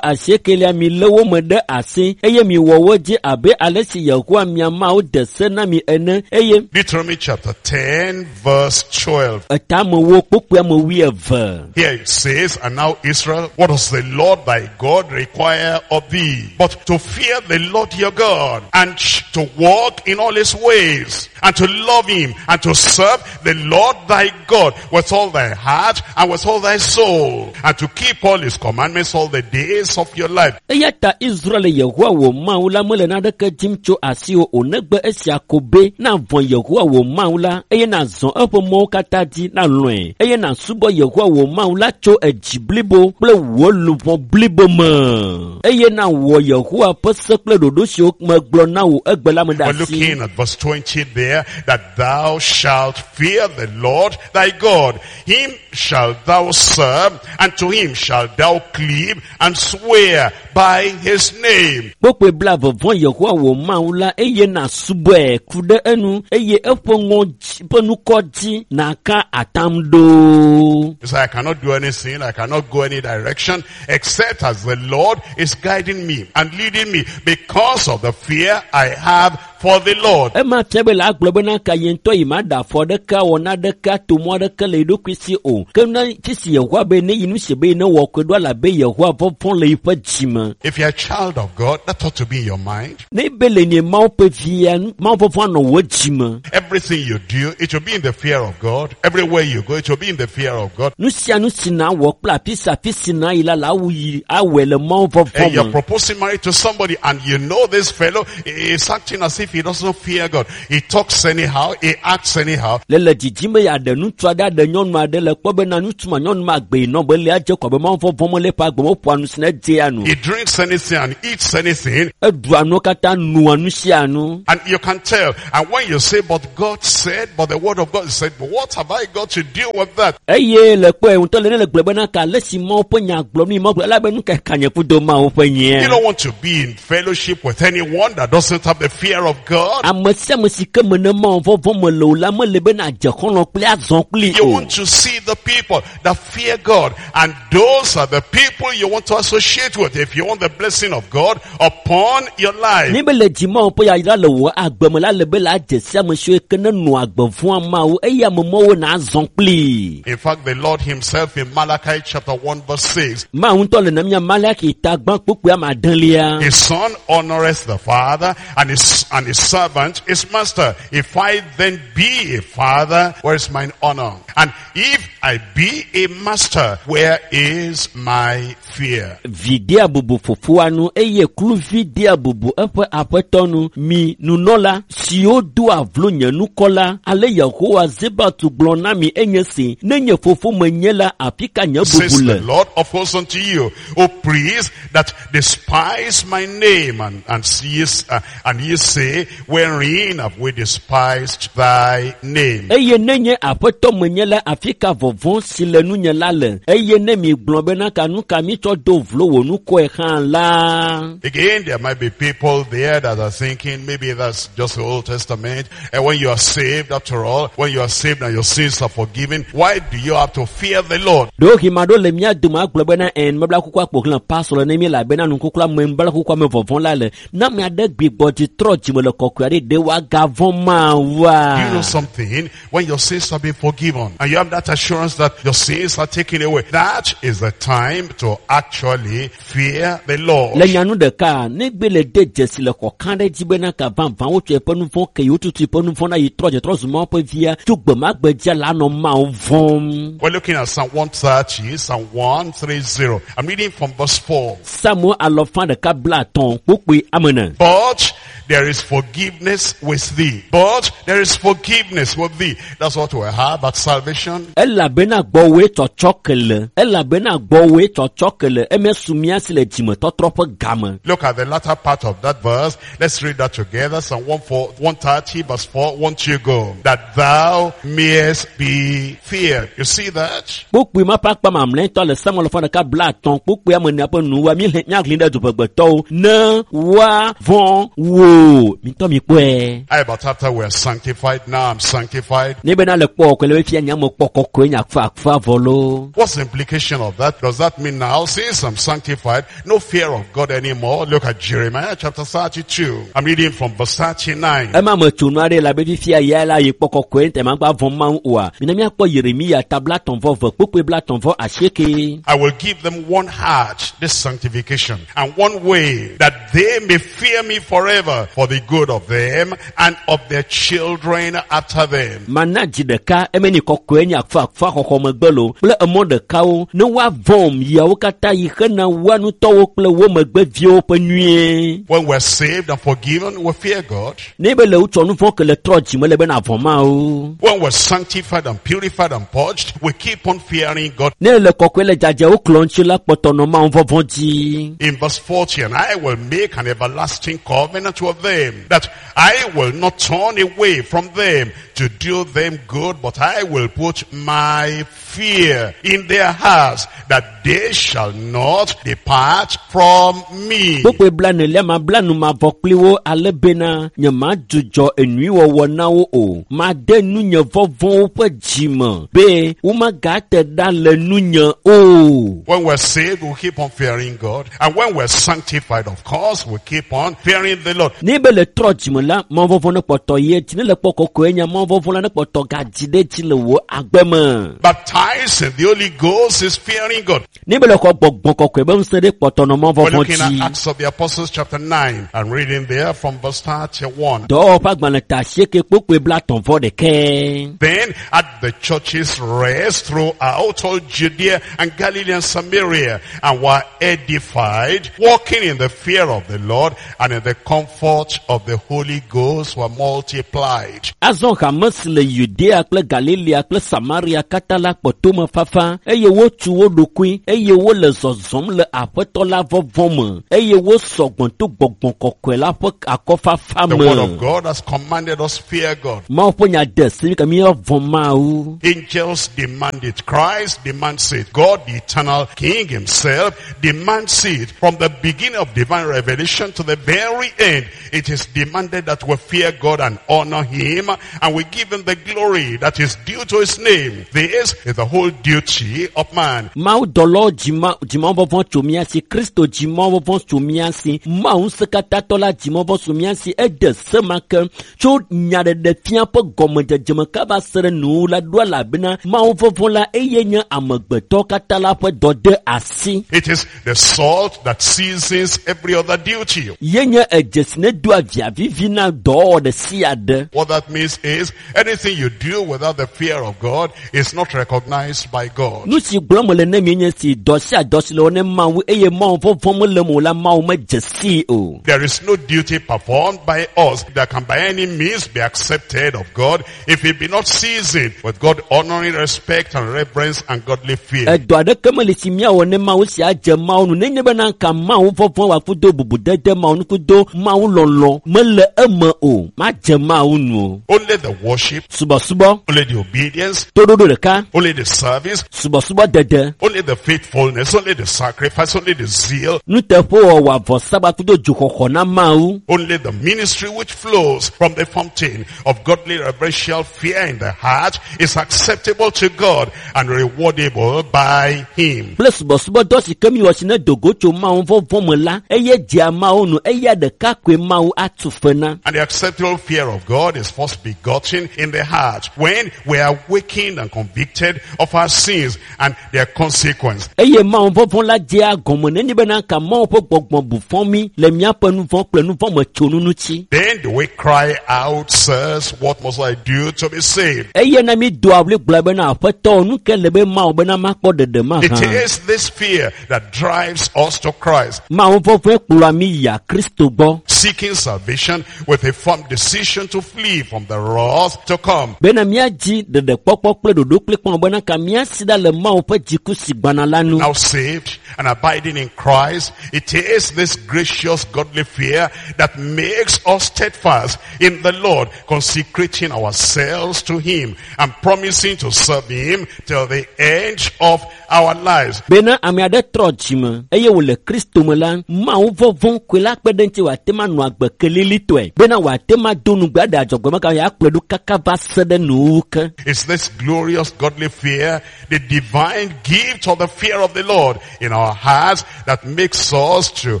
88 mi lé wo me ɖe asi eye mi wɔ wo dzi abe ale si Yehowa mia Mawu de se na mi ene eye Deuteronomy chapter 10, verse 12. etamewo kpokpoe ame wuieve. Here it says, and now Israel, what does the Lord thy God require of thee? But to fear the Lord your God, and to walk in all his ways, and to love him, and to serve the Lord thy God with all thy heart and with all thy soul, and to keep all his commandments all the days of your life. Eya ta Israel Yehowa wò Mawu la mele naneke dim tso asiwò o negbe esia ko be navɔ̃ Yehowa wò Mawu la eye nàzɔ eƒe mɔwo katã dzi nalɔ̃e eye nàsubɔ Yehowa wò Mawu la tso edzi blibo kple wò luʋɔ blibo me eye nàwɔ Yehowa ƒe se kple ɖoɖo siwo megblɔ na wò egbe la me ɖe We're asi. looking at verse 20 there, that thou shalt fear the Lord thy God. Him shalt thou serve, and to him shalt thou cleave, and swear by his name. Kpokpoe 20 Yehowa wò Mawu la eye nàsubɔe ku ɖe enu eye eƒe ŋɔdzi ƒe ŋkɔ dzi nàka atam ɖo. Mawu. You say, I cannot do anything, I cannot go any direction, except as the Lord is guiding me and leading me because of the fear I have for the Lord. Ema fia be le agblɔ bena ka ye ŋutɔ yi ma ɖe afɔ ɖeka wɔ naɖeke to mɔ aɖeke le eɖokui si o. Ke ne fi si Yehowa be ne yi nu si be ne wɔ koe ɖo alabe Yehowa vɔvɔ̃ le yiƒe dzime. If you're a child of God, that ought to be in your mind. Ne be le nye Mawu ƒe via, Mawu vɔvɔ̃ anɔ wò dzime. Everything you do, it will be in the fear of God. Everywhere you go, it will be in the fear of God. Nu sia nu si na wɔ kple afi sia afi si na yi la, la awu yi awɔe le Mawu vɔvɔ̃ And you're me. proposing marriage to somebody and you know this fellow is acting as if he doesn't fear God. He talks anyhow, he acts anyhow. Le le dzidzim be yeaɖe ŋutsu aɖe aɖe nyɔnu aɖe le kpɔ bena ŋutsu ma nyɔnu ma gbe nɔ be le adze kɔ be Mawu vɔvɔ̃ me le eƒe agbe me woƒoa nu si ne dzea nu. He drinks anything and eats anything. Eɖua nuwo katã nua nu sia nu. And you can tell. And when you say, but God said, but the word of God said, but what have I got to do with that? Eye le kpɔe ŋutɔ le ne le gblɔ bena ka ale si Mawu ƒe nya gblɔm ni Mawu gblɔ elabe nu ka ka nye kudo Mawu ƒe You nyea. don't want to be in fellowship with anyone that doesn't have the fear of God. Ame sia ame si ke me ne Mawu vɔvɔ̃ me le o la mele bena adze xɔlɔ̃ kpli azɔ kpli You o. want to see the people that fear God. And those are the people you want to associate with if you want the blessing of God upon your life. Ne be le dzi Mawu ƒe yayra le wò agbe me la le be la adze sia ame siwo ke ne nɔ agbe vɔ̃a Mawu eye ame mawo na azɔ kpli. In fact, the Lord himself in Malachi chapter 1 verse 6, Mawu ŋutɔ le na mía Malaki ta gbã kpukpui ame adelia. his son honoreth the father and his servant his master. If I then be a father, where is mine honor? And if I be a master, where is my fear? Vi dea bubu fofoa nu eye kluvi dea bubu eƒe aƒetɔ nu. Mi nunɔla siwo doa vlo nye nukɔ la, ale Yehowa Zebaoth gblɔ na mi enye si, ne nye fofo menye la, afi ka nye Says bubu the le? Lord of hosts unto you, O priests that despise my name, and ye say, wherein have we despised thy name? Eye ne nye aƒetɔ menye la, afi ka vɔvɔ̃ si le nunye la le? Eye ne mi gblɔ bena ka nu ka mi tsɔ do vlo wò nukɔe hã la. Again, there might be people there that are thinking maybe that's just the Old Testament. And when you are saved, after all, when you are saved and your sins are forgiven, why do you have to fear the Lord? Ɖewohĩ ma ɖewo le mía dome agblɔ bena ɛn mebla kukua kpo xlẽ pasɔ le ne mi elabena nukukula me mebla kukua me vɔvɔ̃ la le. Ne ame aɖe gbigbɔ dzi trɔ dzime le kɔkɔe aɖe ɖe woagavɔ̃ Mawua? Do you know something? When your sins have been forgiven and you have that assurance that your sins are taken away, that is the time to actually fear the Lord. Le nyanu ɖeka, ne gbe le de dzesi le xɔ kã ɖe dzi bena ka vavã wotsɔ eƒe nu vɔ̃ ke yi wotutu eƒe nu vɔ̃ na yi trɔ dze trɔ zu Mawu ƒe via tso gbe ma gbe dzia la nɔ Mawu vɔ̃m. We're looking at Psalm 130, Psalm 130. I'm reading from verse 4. Psalmo alɔfa ɖeka bla atɔ̃ kpukpui ame ene. But there is forgiveness with thee. But there is forgiveness with thee. That's what we have at salvation. Elabena gbɔwòe tsɔtsɔ ke le. Elabena gbɔwòe tsɔtsɔ ke le. Eme su mía si le dzimetɔtrɔ ƒe game. Look at the latter part of that verse. Let's read that together. Psalm 130 verse 4. Won't you go? That thou mayest be feared. You see that? Kpukpui ma ƒe akpa mamlɛtɔ le Psalmo alɔfa ɖeka bla atɔ̃ kpukpui ame ene ƒe nuwua mi míahlẽ ɖe duƒegbetɔwo ne woavɔ̃ wò. Mitɔ mi kpɔe. How about after we are sanctified? Now I'm sanctified. Ne bena le kpɔ kɔkɔe le be fia nye ame kpɔ kɔkɔe nye akfa akfa vɔ loo. What's the implication of that? Does that mean now, since I'm sanctified, no fear of God anymore? Look at Jeremiah chapter 32. I'm reading from verse 39. Ema me tsonu aɖe le abe fifia ya la yi kpɔ kɔkɔe ŋutɛ magba vɔ̃ Mawu oa. Mina míakpɔ Yeremia ta bla atɔ̃ vɔ eve kpukpui bla atɔ̃ vɔ asieke. I will give them one heart, this sanctification, and one way, that they may fear me forever for the good of them and of their children after them. Mana dzi ɖeka eme ni kɔkɔe nye akfa akfa xɔxɔ megbe lo kple emɔ ɖekawo ne woavɔ̃m yiawo katã yi hena woa ŋutɔwo kple wo megbeviwo ƒe nyuie. When we're saved and forgiven, we fear God. Ne be le wotsɔ nu vɔ̃ ke le trɔ dzime le bena vɔ̃ Mawu. When we're sanctified and purified and purged, we keep on fearing God. Ne le kɔkɔe le dzadzewo klɔ ŋuti la kpɔtɔ nɔ Mawu vɔvɔ̃ dzi. In verse 40, and I will make an everlasting covenant with them, that I will not turn away from them to do them good, but I will put my fear in their hearts, that they shall not depart from me. Kpukpui blaenelia mabla nu mavɔ kpli wo ale bena nyemadzudzɔ enyuiwɔwɔ na wo o. Made nunye vɔvɔ̃ woƒe dzime be womagate ɖa le nunye o. When we're saved, we keep on fearing God. And when we're sanctified, of course, we keep on fearing the Lord. Ne be le trɔ dzime la, mawuvɔvɔ̃ ne kpɔtɔ ye dzi ne le kpɔ kɔkɔe nya mawuvɔvɔ̃ la ne kpɔtɔ gadzi ɖe dzi le wò agbe me. Baptized in the Holy Ghost is fearing God. Ne be le xɔ gbɔgbɔ kɔkɔe be ŋusẽ ɖe kpɔtɔ nɔ We're mawuvɔvɔ̃ looking at dzi. Acts of the Apostles chapter 9 and reading there from verse 31. Dɔwɔwɔ ƒe agbalẽ ta asieke kpukpui blatɔ̃ vɔ ɖekɛ. Then at the churches rest throughout all Judea and Galilee and Samaria, and were edified, walking in the fear of the Lord and in the comfort of the Holy Ghost were multiplied. Azɔ hame si le Yudea kple Galilea kple Samaria katã la kpɔ tomefafa eye wotu wo ɖokui eye wole zɔzɔm le Aƒetɔ la vɔvɔ̃ me eye wosɔ gbɔ to gbɔgbɔ kɔkɔe la ƒe akɔfafa The word of me. God has commanded us fear God. Mawu ƒe nya de se mi ke míavɔ̃ Mawu. Angels demand it. Christ demands it. God, the eternal King himself, demands it. From the beginning of divine revelation to the very end, it is demanded that we fear God and honor him, and we give him the glory that is due to his name. This is the whole duty of man. Mawu dɔlawo dzima dzimavɔvɔ̃ tso mía si, Kristo dzimavɔvɔ̃ tso mía si, Mawu ŋusẽkatãtɔ la dzimavɔvɔ̃ tso mía si. Ede se ma ke tso nyaɖeɖefia ƒe gɔmedzedze me kava se ɖe nuwuwu la ɖo elabena Mawu vɔvɔ̃ la eye nye amegbetɔ katã la ƒe dɔ de asi. It is the salt that seasons every other duty. Ye nye edzesi ne doa via vivi na dɔwɔwɔ ɖe sia ɖe. What that means is anything you do without the fear of God is not recognized by God. Nu si gblɔm mele ne mi nye si dɔ sia dɔ si le wɔ ne Mawu eye Mawu vɔvɔ̃ mele eme o la Mawu medze sii o. There is no duty performed by us that can by any means be accepted of God if it be not seasoned with God honoring respect and reverence and godly fear. Edɔ aɖeke meli si míawɔ ne Mawu si adze Mawu nu nenye bena ka Mawu vɔvɔ̃ wòakudo bubudede Mawu nu kudo Mawu lɔlɔ mele eme o madze Mawu nu o. Only the worship, Subɔsubɔ, only the obedience, toɖoɖo ɖeka, only the service, subɔsubɔ dede, only the faithfulness, only the sacrifice, only the zeal, nuteƒewɔwɔ avɔsaba kudo dzoxɔxɔ na Mawu. only the ministry which flows from the fountain of godly reverential fear in the heart is acceptable to God and rewardable by him. Kple subɔsubɔdɔ si ke miwɔ si ne dogo tso Mawu vɔvɔ̃ me la, eye dzea Mawu nu eya ɖeka koe Mawu atu fe na. And the acceptable fear of God is first begotten in the heart when we are awakened and convicted of our sins and their consequence. Eye Mawu vɔvɔ̃ la dzea gɔme nenye bena ka Mawu ƒe gbɔgbɔ bu fɔ mí le míaƒe nu vɔ̃ kple nu vɔ̃ me tsonu ŋuti. Then do we cry out, sirs, what must I do to be saved? Eye na mi doa ɣli gblɔ bena aƒetɔ nu ke le be Mawu bena makpɔ ɖeɖe It mahã. is this fear that drives us to Christ, Mawu vɔvɔ̃e kplɔa mí yia Kristo gbɔ seeking salvation with a firm decision to flee from the wrath to come. bena míadzi ɖeɖekpɔkpɔ kple ɖoɖo kplikpɔ bena ka míasi ɖa le Mawu ƒe dziku si gbana la nu. Now saved and abiding in Christ, it is this gracious godly fear that makes us steadfast in the Lord, consecrating ourselves to Him and promising to serve Him till the end of our lives. Bena ame aɖe trɔ dzime eye wòle Kristo me la, Mawu vɔvɔ̃ koe la kpe ɖe eŋuti wòate ŋu anɔ agbe kelilitɔe bena wòate ŋu ado nugbe aɖe adzɔgbe me ka yeakplɔe ɖo kaka va se ɖe nuwuwu ke. It's this glorious godly fear, the divine gift of the fear of the Lord in our hearts that makes us to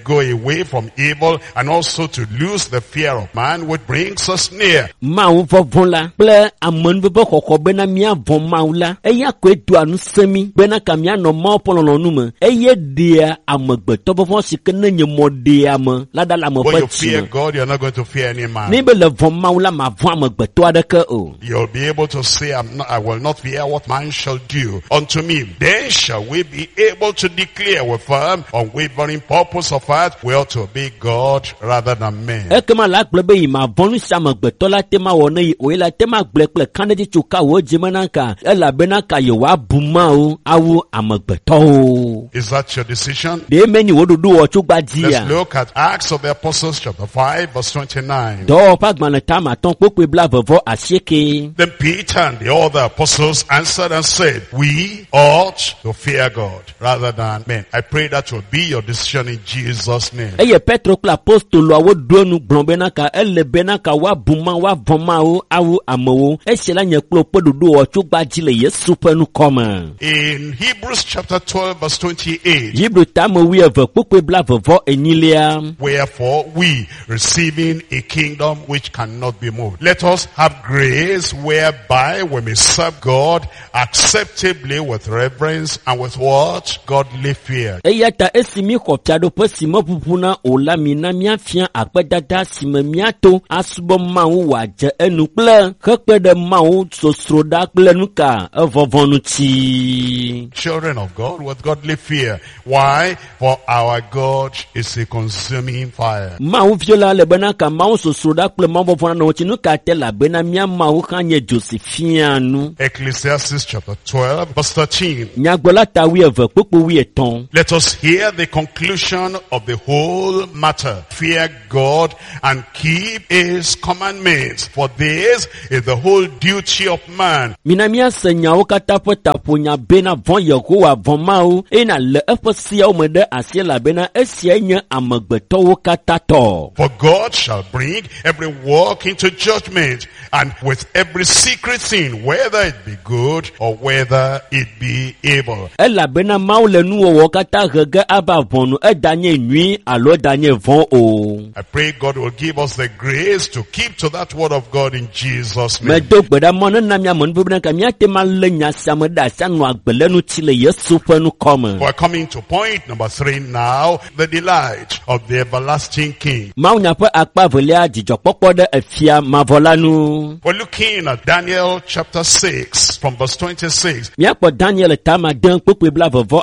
go away from evil and also to lose the fear of man, which brings us near. Mawu vɔvɔ̃ la kple amenuveve xɔxɔ bena míavɔ̃ Mawu la, eya koe doa ŋusẽ mí bena ka míanɔ Mawu ƒe lɔlɔ̃nu me eye ɖea amegbetɔ vɔvɔ̃ si ke ne nye mɔɖeame la ɖa le ame When ƒe you fear dzime. God, you're not going to fear any man. Ne be le vɔ̃ Mawu la, mavɔ̃ amegbetɔ aɖeke o. You'll be able to say, I will not fear what man shall do unto me. Then shall we be able to declare with firm, unwavering purpose of heart, we ought to obey God rather than men. Ekema la gblɔ be yi mavɔ̃ nu si amegbetɔ la te ma wɔ ne yi o ye la te ma gblɔe kple kãɖedzi tso ka wò dzime na ka elabena ka yewoabu Mawu awu amegbetɔwo. Is that your decision? Ɖe menye wò ɖoɖo wɔ tso gbadzia? Let's look at Acts of the Apostles chapter 5 verse 29. Dɔwɔwɔ ƒe agbalẽ tame atɔ̃ kpokpoe bla 88. Then Peter and the other apostles answered and said, we ought to fear God rather than men. I pray that will be your decision in Jesus' name. Eye Petro kple apostoloawo ɖo enu gblɔ bena ka ele bena ka woabu Mawu, woavɔ̃ Mawu awu amewo. Esia la nye kple woƒe ɖoɖowɔ tso gbadzi le Yesu ƒe ŋkɔme. In Hebrews chapter 12 verse 28, Hebrew tame wuieve kpukpui blaeve-vɔ-enyilia. wherefore we, receiving a kingdom which cannot be moved, let us have grace whereby we may serve God acceptably with reverence and with what? Godly fear. Eya ta esi míxɔ fiaɖuƒe si meʋuʋuna o la, mina míafia akpedada si me míato asubɔ Mawu wòadze enu kple hekpe ɖe Mawu sosroɖa kple nuka evɔvɔ ŋuti. Children of God with godly fear. Why? For our God is a consuming fire. Mawu viwo la le bena ka Mawu sosroɖa kple Mawu vɔvɔ nanɔ wo ŋuti. Nu ka te elabena mía Mawu hã nye dzo si fiaa nu. Ecclesiastes chapter 12 verse 13. Nyagblɔla ta wuieve kpukpui wuietɔ̃. Let us hear the conclusion of the whole matter. Fear God and keep his commandments, for this is the whole duty of man. Mina míase nyawo katã ƒe taƒonya bena vɔ̃ Yehowa vɔ̃ Mawu eye nàlé eƒe seawo me ɖe asi elabena esiae nye amegbetɔwo katã tɔ. For God shall bring every work into judgment, and with every secret thing, whether it be good or whether it be evil. Elabena Mawu le nuwɔwɔ katã he ge ava ʋɔnu eɖanye nyui alo eɖanye vɔ̃ o. I pray God will give us the grace to keep to that word of God in Jesus' name. Medo gbe ɖa mɔ nena mía ame nuvevi ka míate ŋu alé nya sia me ɖe asi anɔ agbe le ŋuti le Yesu ƒe ŋkɔme. We're coming to point number 3 now, the delight of the everlasting King. Mawunya ƒe akpa evelia dzidzɔkpɔkpɔ ɖe efia mavɔ la nu. We're looking at Daniel chapter 6 from verse 26. Míakpɔ Daniel tama de kpukpui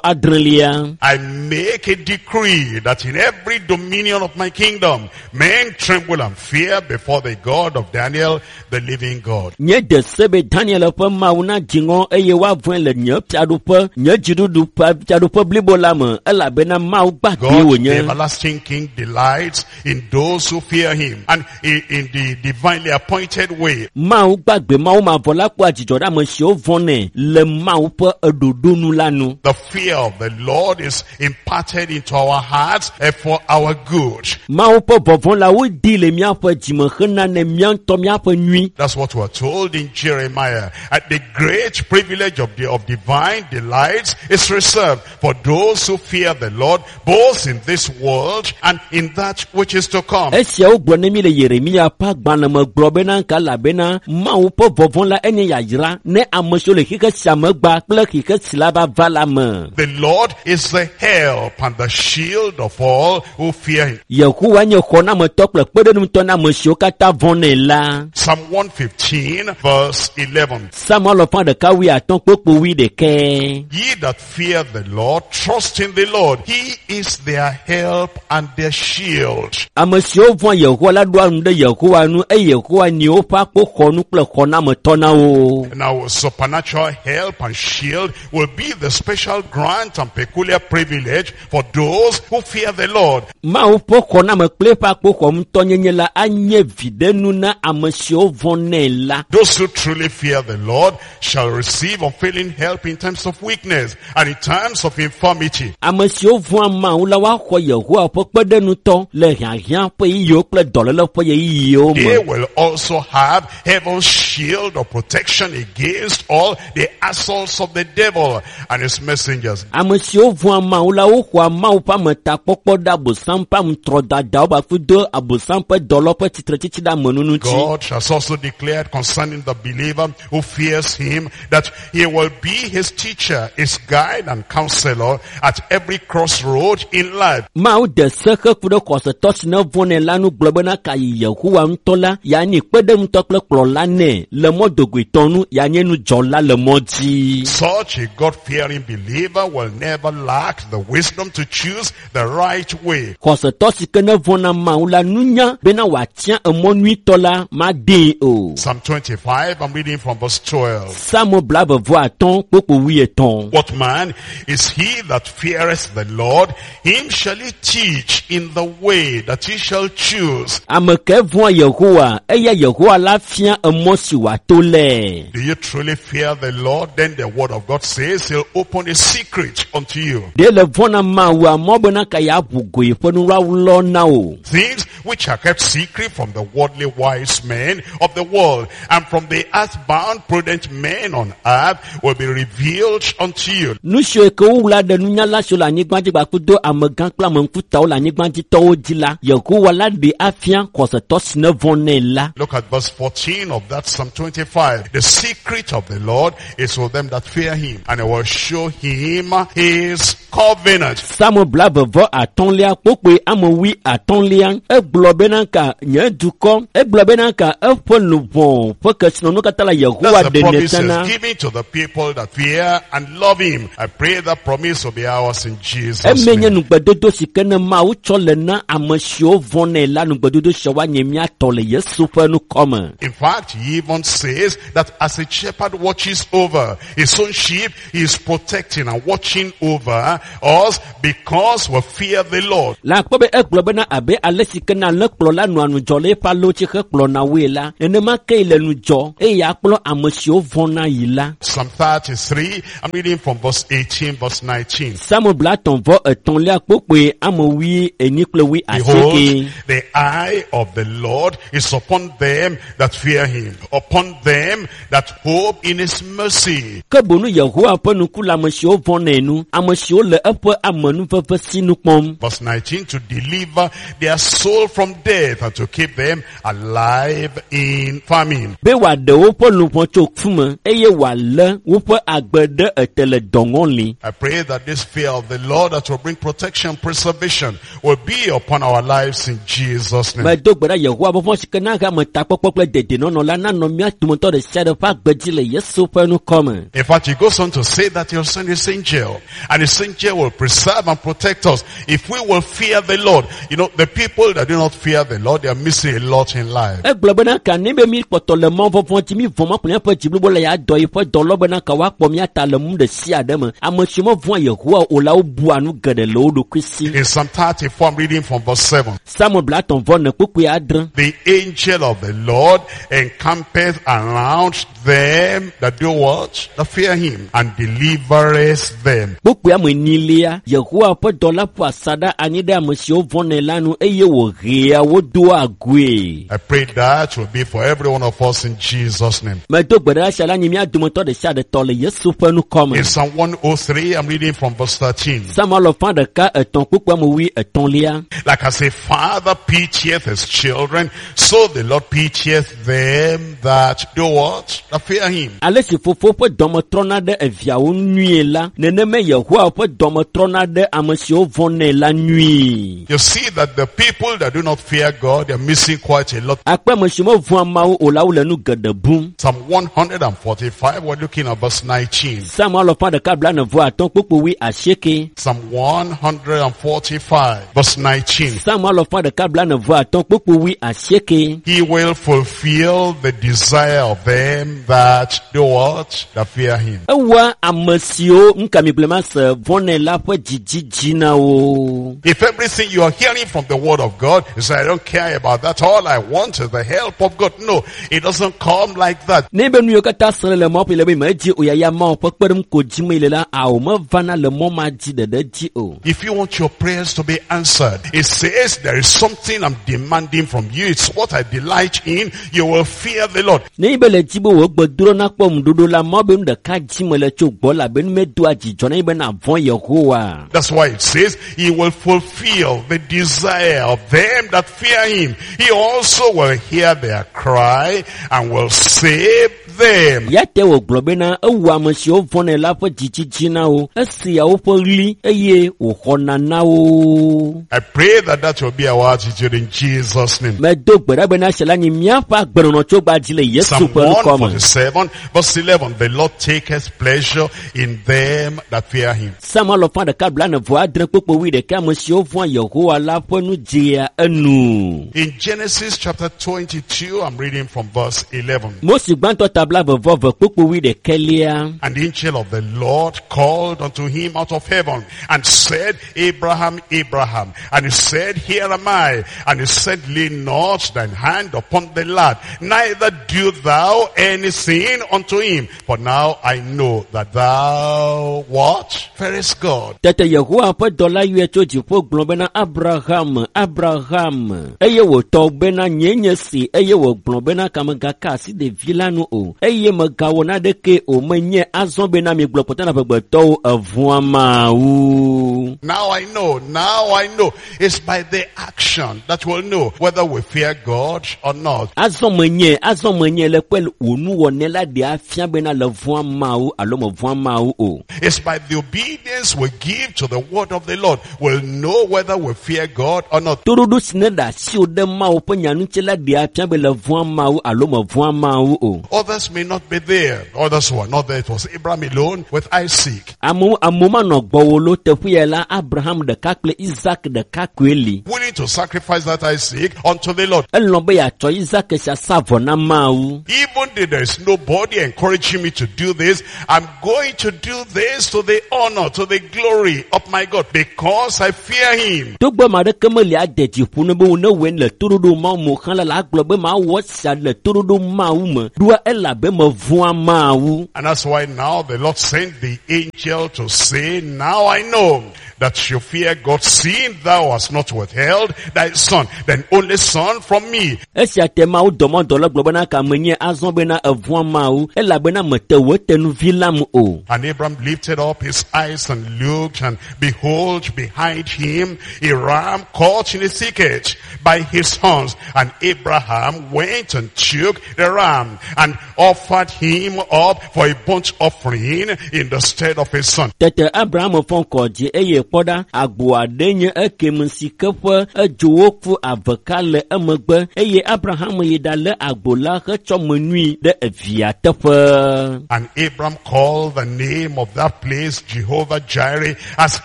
blaeve-vɔ-adrelia. I make a decree that in every dominion of my kingdom, men tremble and fear before the God of Daniel, the living God. Nye de se be Daniel ƒe Mawu nadzi ŋɔ eye woavɔ̃e le nye fiaɖuƒe, nye dziɖuɖu ƒe fiaɖuƒe blibo la me elabena Mawu gbãgbee God, the wònye. everlasting King, delights in those who fear him and in the divinely appointed way. Mawu gbagbe Mawu mavɔ la kpɔa dzidzɔ ɖe ame siwo vɔ̃nɛ le Mawu ƒe eɖoɖo nu la nu. The fear of the Lord is imparted into our hearts for our good. Mawu ƒe vɔvɔ̃ la wodi le míaƒe dzime hena ne mía ŋutɔ míaƒe nyui. That's what we're told in Jeremiah. And the great privilege of divine delights is reserved for those who fear the Lord, both in this world and in that which is to come. Esiawo gblɔ ne mi le Yeremia ƒe agbalẽ me gblɔ bena nka elabena Mawu ƒe vɔvɔ̃ la enye yayra ne ame siwo le xixe sia me gba kple xixe si la va va la me. The Lord is the help and the shield of all who fear him. Yehowa nye xɔnametɔ kple kpeɖeŋutɔ na ame siwo katã vɔ̃nɛ la. Psalm 115 verse 11. Psalm alafa ɖeka wuiatɔ̃ kpukpui wuiɖekɛ. Ye that fear the Lord, trust in the Lord. He is their help and their shield. Ame siwo vɔ̃a Yehowa la ɖoa ŋu ɖe Yehowa ŋu eye Yehowa nye woƒe akpoxɔnu kple xɔnametɔ na wo. Now, supernatural help and shield will be the special grant and peculiar privilege for those who fear the Lord. Mawu ƒe xɔname kple eƒe akpoxɔnutɔnyenye la anye viɖenu na ame siwo vɔ̃nɛ la. Those who truly fear the Lord shall receive unfailing help in times of weakness and in times of infirmity. Ame siwo vɔ̃a Mawu la woaxɔ Yehowa ƒe kpeɖeŋutɔ le hiahiã ƒe ɣeyiɣiwo kple dɔléle ƒe ɣeyiɣiwo They me. will also have heaven's shield of protection against all the assaults of the devil and his messengers. Ame siwo vɔ̃a Mawu la woxɔa Mawu ƒe ametakpɔkpɔ ɖe Abosam ƒe aŋutrɔdadawo kpakple do Abosam ƒe dɔlɔ ƒe tsitretsitsi ɖe ame nu ŋuti. God has also declared concerning the believer who fears him that he will be his teacher, his guide and counselor at every crossroad in life. Mawu de se heku ɖe xɔsetɔ si ne vɔ̃nɛ la nu gblɔ bena ka yi Yehowa ŋutɔ la, yeanye kpeɖeŋutɔ kple kplɔla nɛ le mɔ dogoetɔ nu, yeanye nudzɔla le mɔ dzi. Such a God-fearing believer will never lack the wisdom to choose the right way. Xɔsetɔ si ke ne vɔ̃na Mawu la nunya bena wòatia emɔ nyuitɔ la madee o. Psalm 25, I'm reading from verse 12. Psalm 25 kpukpui wuietɔ̃. What man is he that feareth the Lord? Him shall he teach in the way that he shall choose. Ame ke vɔ̃a Yehowa, eya Yehowa Yehowa la fia emɔ si wòato lɛ. Do you truly fear the Lord? Then the word of God says he'll open a secret unto you. Ɖe le vɔ̃ na Mawua mɔ bena ka yeaʋu go yeƒe nuwlawlɔ na wò. Things which are kept secret from the worldly wise men of the world and from the earthbound prudent men on earth will be revealed unto you. Nu siwo ke wowla ɖe nunyala siwo le anyigba dzi kpakple amegã kple ame ŋkutawo le anyigbadzitɔwo dzi la, Yehowa la ɖe afia xɔsetɔ si ne vɔ̃ nɛ la. Look at verse 14 of that Psalm 25. The secret of the Lord is with them that fear him, and he will show him his covenant. Psalm 35 kpokpoe ame 50 egblɔ bena ka nye dukɔ egblɔ bena ka eƒe luʋɔ ƒe kesinɔnu katã la Yehowa That's the ɖenɛ promise fiana. he's giving to the people that fear and love him. I pray that promise will be ours in Jesus' Eme nye name. nugbedodo si ke ne Mawu tsɔ le na ame siwo vɔ̃nɛ la nugbedodo sia woanye mía tɔ le Yesu ƒe ŋkɔme. In fact, he even says that as a shepherd watches over his own sheep, he is protecting and watching over us because we fear the Lord. Le akpɔ be egblɔ bena abe ale si ke na alẽkplɔla nɔa ŋudzɔ le eƒe alẽwo dzi hekplɔna woe la, nenema ke le ŋudzɔ eye akplɔ ame siwo vɔ̃na yi la. Psalm 33, I'm reading from verse 18, verse 19. Psalm 33 kpokpoe ame 80 kple 80. Behold, the eye of the Lord is upon them that fear him, upon them that hope in his mercy. Ke boŋ Yehowa ƒe ŋku le ame siwo vɔ̃nɛ nu, ame siwo le eƒe amenuveve sinu kpɔm. Verse 19, to deliver their soul from death and to keep them alive in famine. Be wòaɖe woƒe luʋɔ tso ku me eye wòalé woƒe agbe ɖe ete le dɔŋɔli. I pray that this fear of the Lord that will bring protection, preservation will be upon our lives in Jesus' name. Medo gbe ɖa Yehowa vɔvɔ̃ si ke na he ametakpɔkpɔ kple dedienɔnɔ la nanɔ mía dometɔ ɖe sia ɖe ƒe agbe dzi le Yesu ƒe ŋkɔme. In fact, he goes on to say that he'll send his angel, and his angel will preserve and protect us if we will fear the Lord. You know, the people that do not fear the Lord, they are missing a lot in life. Egblɔ bena ka ne be mi kpɔtɔ le mɔ vɔvɔ̃ dzi mi vɔ̃ ma kple míaƒe dzi blibo le ya dɔ yiƒe dɔlɔ bena ka woakpɔ mía ta le nu ɖe sia ɖe me. Ame siwo mevɔ̃a Yehowa o la wobua nu geɖe le wo ɖokui si. In Psalm 34, I'm reading from verse 7. Psalm 34 kpukpui 6. The angel of the Lord encampeth around them that do what? That fear him, and delivereth them. Kpukpui ame 4 Yehowa ƒe dɔla ƒo asaɖa anyi ɖe ame siwo vɔ̃nɛ la nu eye wòhea wo doa goe. I pray that will be for every one of us in Jesus' name. Medo gbe ɖa sia la nyi mía dometɔ ɖe sia ɖe tɔ le Yesu ƒe ŋkɔme. In Psalm 103, I'm reading from verse 13. Psalm 103 kpukpui ame 33. Like as a father pitieth his children, so the Lord pitieth them that do what? That fear him. Ale si fofo ƒe dɔme trɔna ɖe eviawo nyuie la, nenema Yehowa ƒe dɔme trɔna ɖe ame siwo vɔ̃nɛ la nyuie. You see that the people that do not fear God, they're missing quite a lot. Akpe ame siwo mevɔ̃a Mawu o la wole nu geɖe bum. Psalm 145, we're looking at verse 19. Psalm 145 kpukpui 80. Psalm 145, verse 19. Psalm 145 kpukpui 80. He will fulfill the desire of them that do what? That fear him. Ewɔa ame siwo ŋukamigblẽ se vɔ̃nɛ la ƒe dzidzi dzi na wo. If everything you are hearing from the word of God, you say, I don't care about that. All I want is the help of God. No, it doesn't come like that. Ne be nu yiwo katã sem le mɔ ƒe le be medzi o yaya Mawu ƒe kpeɖeŋu ko dzim le la, ao mevana le mɔ ma dzi ɖeɖe dzi o. If you want your prayers to be answered, it says there is something I'm demanding from you. It's what I delight in. You will fear the Lord. Ne be le dzi be wò gbedoɖo nakpɔ ŋuɖoɖo la, mɔ be nu ɖeka dzi me le tso gbɔ la be nu medoa dzidzɔ na ye be navɔ̃ Yehowa. That's why it says he will fulfill the desire of them that fear him. He also will hear their cry and will save them. Ya te wògblɔ bena ewɔ ame siwo vɔ̃nɛ la ƒe dzidzi dzi na wo, esea woƒe ɣli eye wòxɔna na wo. I pray that that will be our attitude in Jesus' name. Medo gbe ɖa bena esia la nyi míaƒe agbenɔnɔ tso gba dzi le Yesu Psalm ƒe ŋkɔme. 147 verse 11, the Lord taketh pleasure in them that fear him. Psalm 146 kpukpui 11 ame siwo vɔ̃a Yehowa la ƒe nu dzea enu. In Genesis chapter 22, I'm reading from verse 11. Mose gbãtɔ ta ta blaeve-vɔ-eve kpukpui wuiɖekɛlia. And the angel of the Lord called unto him out of heaven and said, Abraham, Abraham. And he said, Here am I. And he said, Lay not thine hand upon the lad, neither do thou anything unto him. For now I know that thou what? Fearest God. Tete Yehowa ƒe dɔla yɔe tso dziƒo gblɔ bena Abraham, Abraham. Eye wòtɔ bena nyee nye si eye wògblɔ bena ka megaka asi ɖevi la nu o eye megawɔ naneke o menye azɔ bena migblɔ kpɔtɔ na amegbetɔwo evɔ̃a Mawu. Now I know, now I know. It's by the action that we'll know whether we fear God or not. Azɔ menye, azɔ menye le kpe wò nuwɔnɛ la ɖe afia bena le vɔ̃a Mawu alo mevɔ̃a Mawu o. It's by the obedience we give to the word of the Lord we'll know whether we fear God or not. Toɖoɖo si ne ɖe asiwò ɖe Mawu ƒe nya ŋuti la ɖe afia be le vɔ̃a Mawu alo mevɔ̃a Mawu o. Others may not be there. Others who are not there. It was Abraham alone with Isaac. Amewo amewo manɔ gbɔwò lo teƒe ya la Abraham ɖeka kple Isaac ɖeka koe li. Willing to sacrifice that Isaac unto the Lord. Elɔ̃ be yeatsɔ Isaac sia sa vɔ na Mawu. Even though there is nobody encouraging me to do this, I'm going to do this to the honor, to the glory of my God, because I fear him. Togbɔ ame aɖeke meli ade dzi ƒo ne be wo ne wɔe le toɖoɖo Mawu me o hã la, la agblɔ be mawɔ esia le toɖoɖo Mawu me. Ɖoa elabe mevɔ̃a Mawu. And that's why now the Lord sent the angel to say, now I know that you fear God, seeing thou hast not withheld thy son, thine only son from me. Esia te Mawu dɔmɔdɔla gblɔ bena ka menye azɔ bena evɔ̃a Mawu elabena mete wò tenuvi lam o. And Abraham lifted up his eyes and looked, and behold, behind him a ram caught in a thicket by his horns. And Abraham went and took the ram and offered him up for a burnt offering in the stead of his son. Tete Abraham fɔ ŋkɔ dzi eye kpɔ ɖa agbo aɖe nye ekem si ke ƒe edzowo ku aveka le emegbe eye Abraham yi ɖalé agbo la hetsɔ menui ɖe evia teƒe. And Abraham called the name of that place Jehovah Jireh, as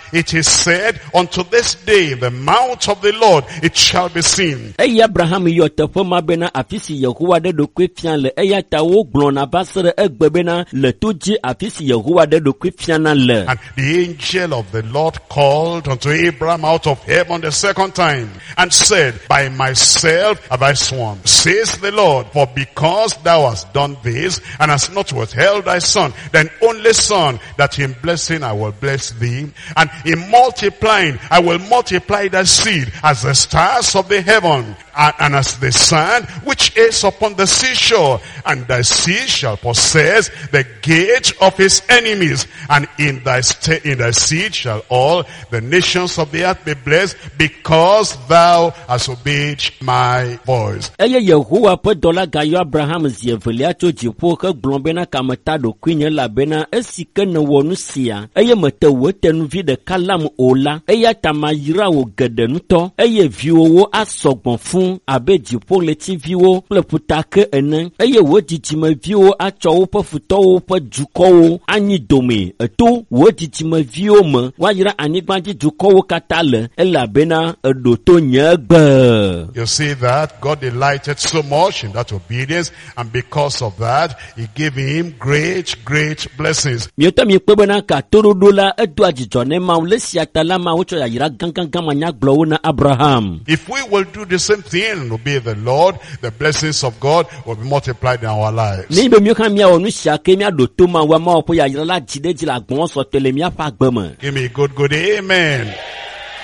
it is said, unto this day, the mount of the Lord, it shall be seen. Eye Abraham yɔ teƒe ma bena afi si Yehowa ɖe ɖokui fia le eya ta wogblɔna va se ɖe egbe bena le to dzi afi si Yehowa ɖe ɖokui fiana le. And the angel of the Lord called unto Abraham out of heaven the second time and said, By myself have I sworn, says the Lord, for because thou hast done this and hast not withheld thy son, thine only son, that in blessing I will bless thee, and in multiplying I will multiply thy seed as the stars of the heaven, and as the sand which is upon the seashore, and thy seed shall possess the gate of his enemies, and in thy seed shall all the nations of the earth be blessed, because thou hast obeyed my voice. Eye Yehowa ƒe dɔla gayɔ Abraham zi evelia tso dziƒo hegblɔ bena kameta ɖokuinye elabena esi ke nèwɔ nu sia eye mete wò tenuvi ɖeka lam o la, eya ta mayra wò geɖe ŋutɔ eye viwòwo asɔ gbɔ fũ abe dziƒoɣletiviwo kple ƒutake ene eye wò dzidzimeviwo atsɔ woƒe futɔwo ƒe dukɔwo anyi dome eto wò dzidzimeviwo me woayra anyigbadzidukɔwo katã le elabena eɖo to nye gbe. You see that God delighted so much in that obedience, and because of that, he gave him great, great blessings. Mietɔ miekpɔe bena ka toɖoɖo la edoa dzidzɔ ne Mawu le sia ta la Mawu tsɔ yayra gãgãgã manyagblɔwo na Abraham. If we will do the same thing and obey the Lord, the blessings of God will be multiplied in our lives. Nenye be míawo hã míawɔ nu sia ke míaɖo to Mawu, Mawu ƒe yayra la dzi ɖe edzi le agbɔ̃ sɔtɔe le míaƒe agbe me. Give me a good, good amen.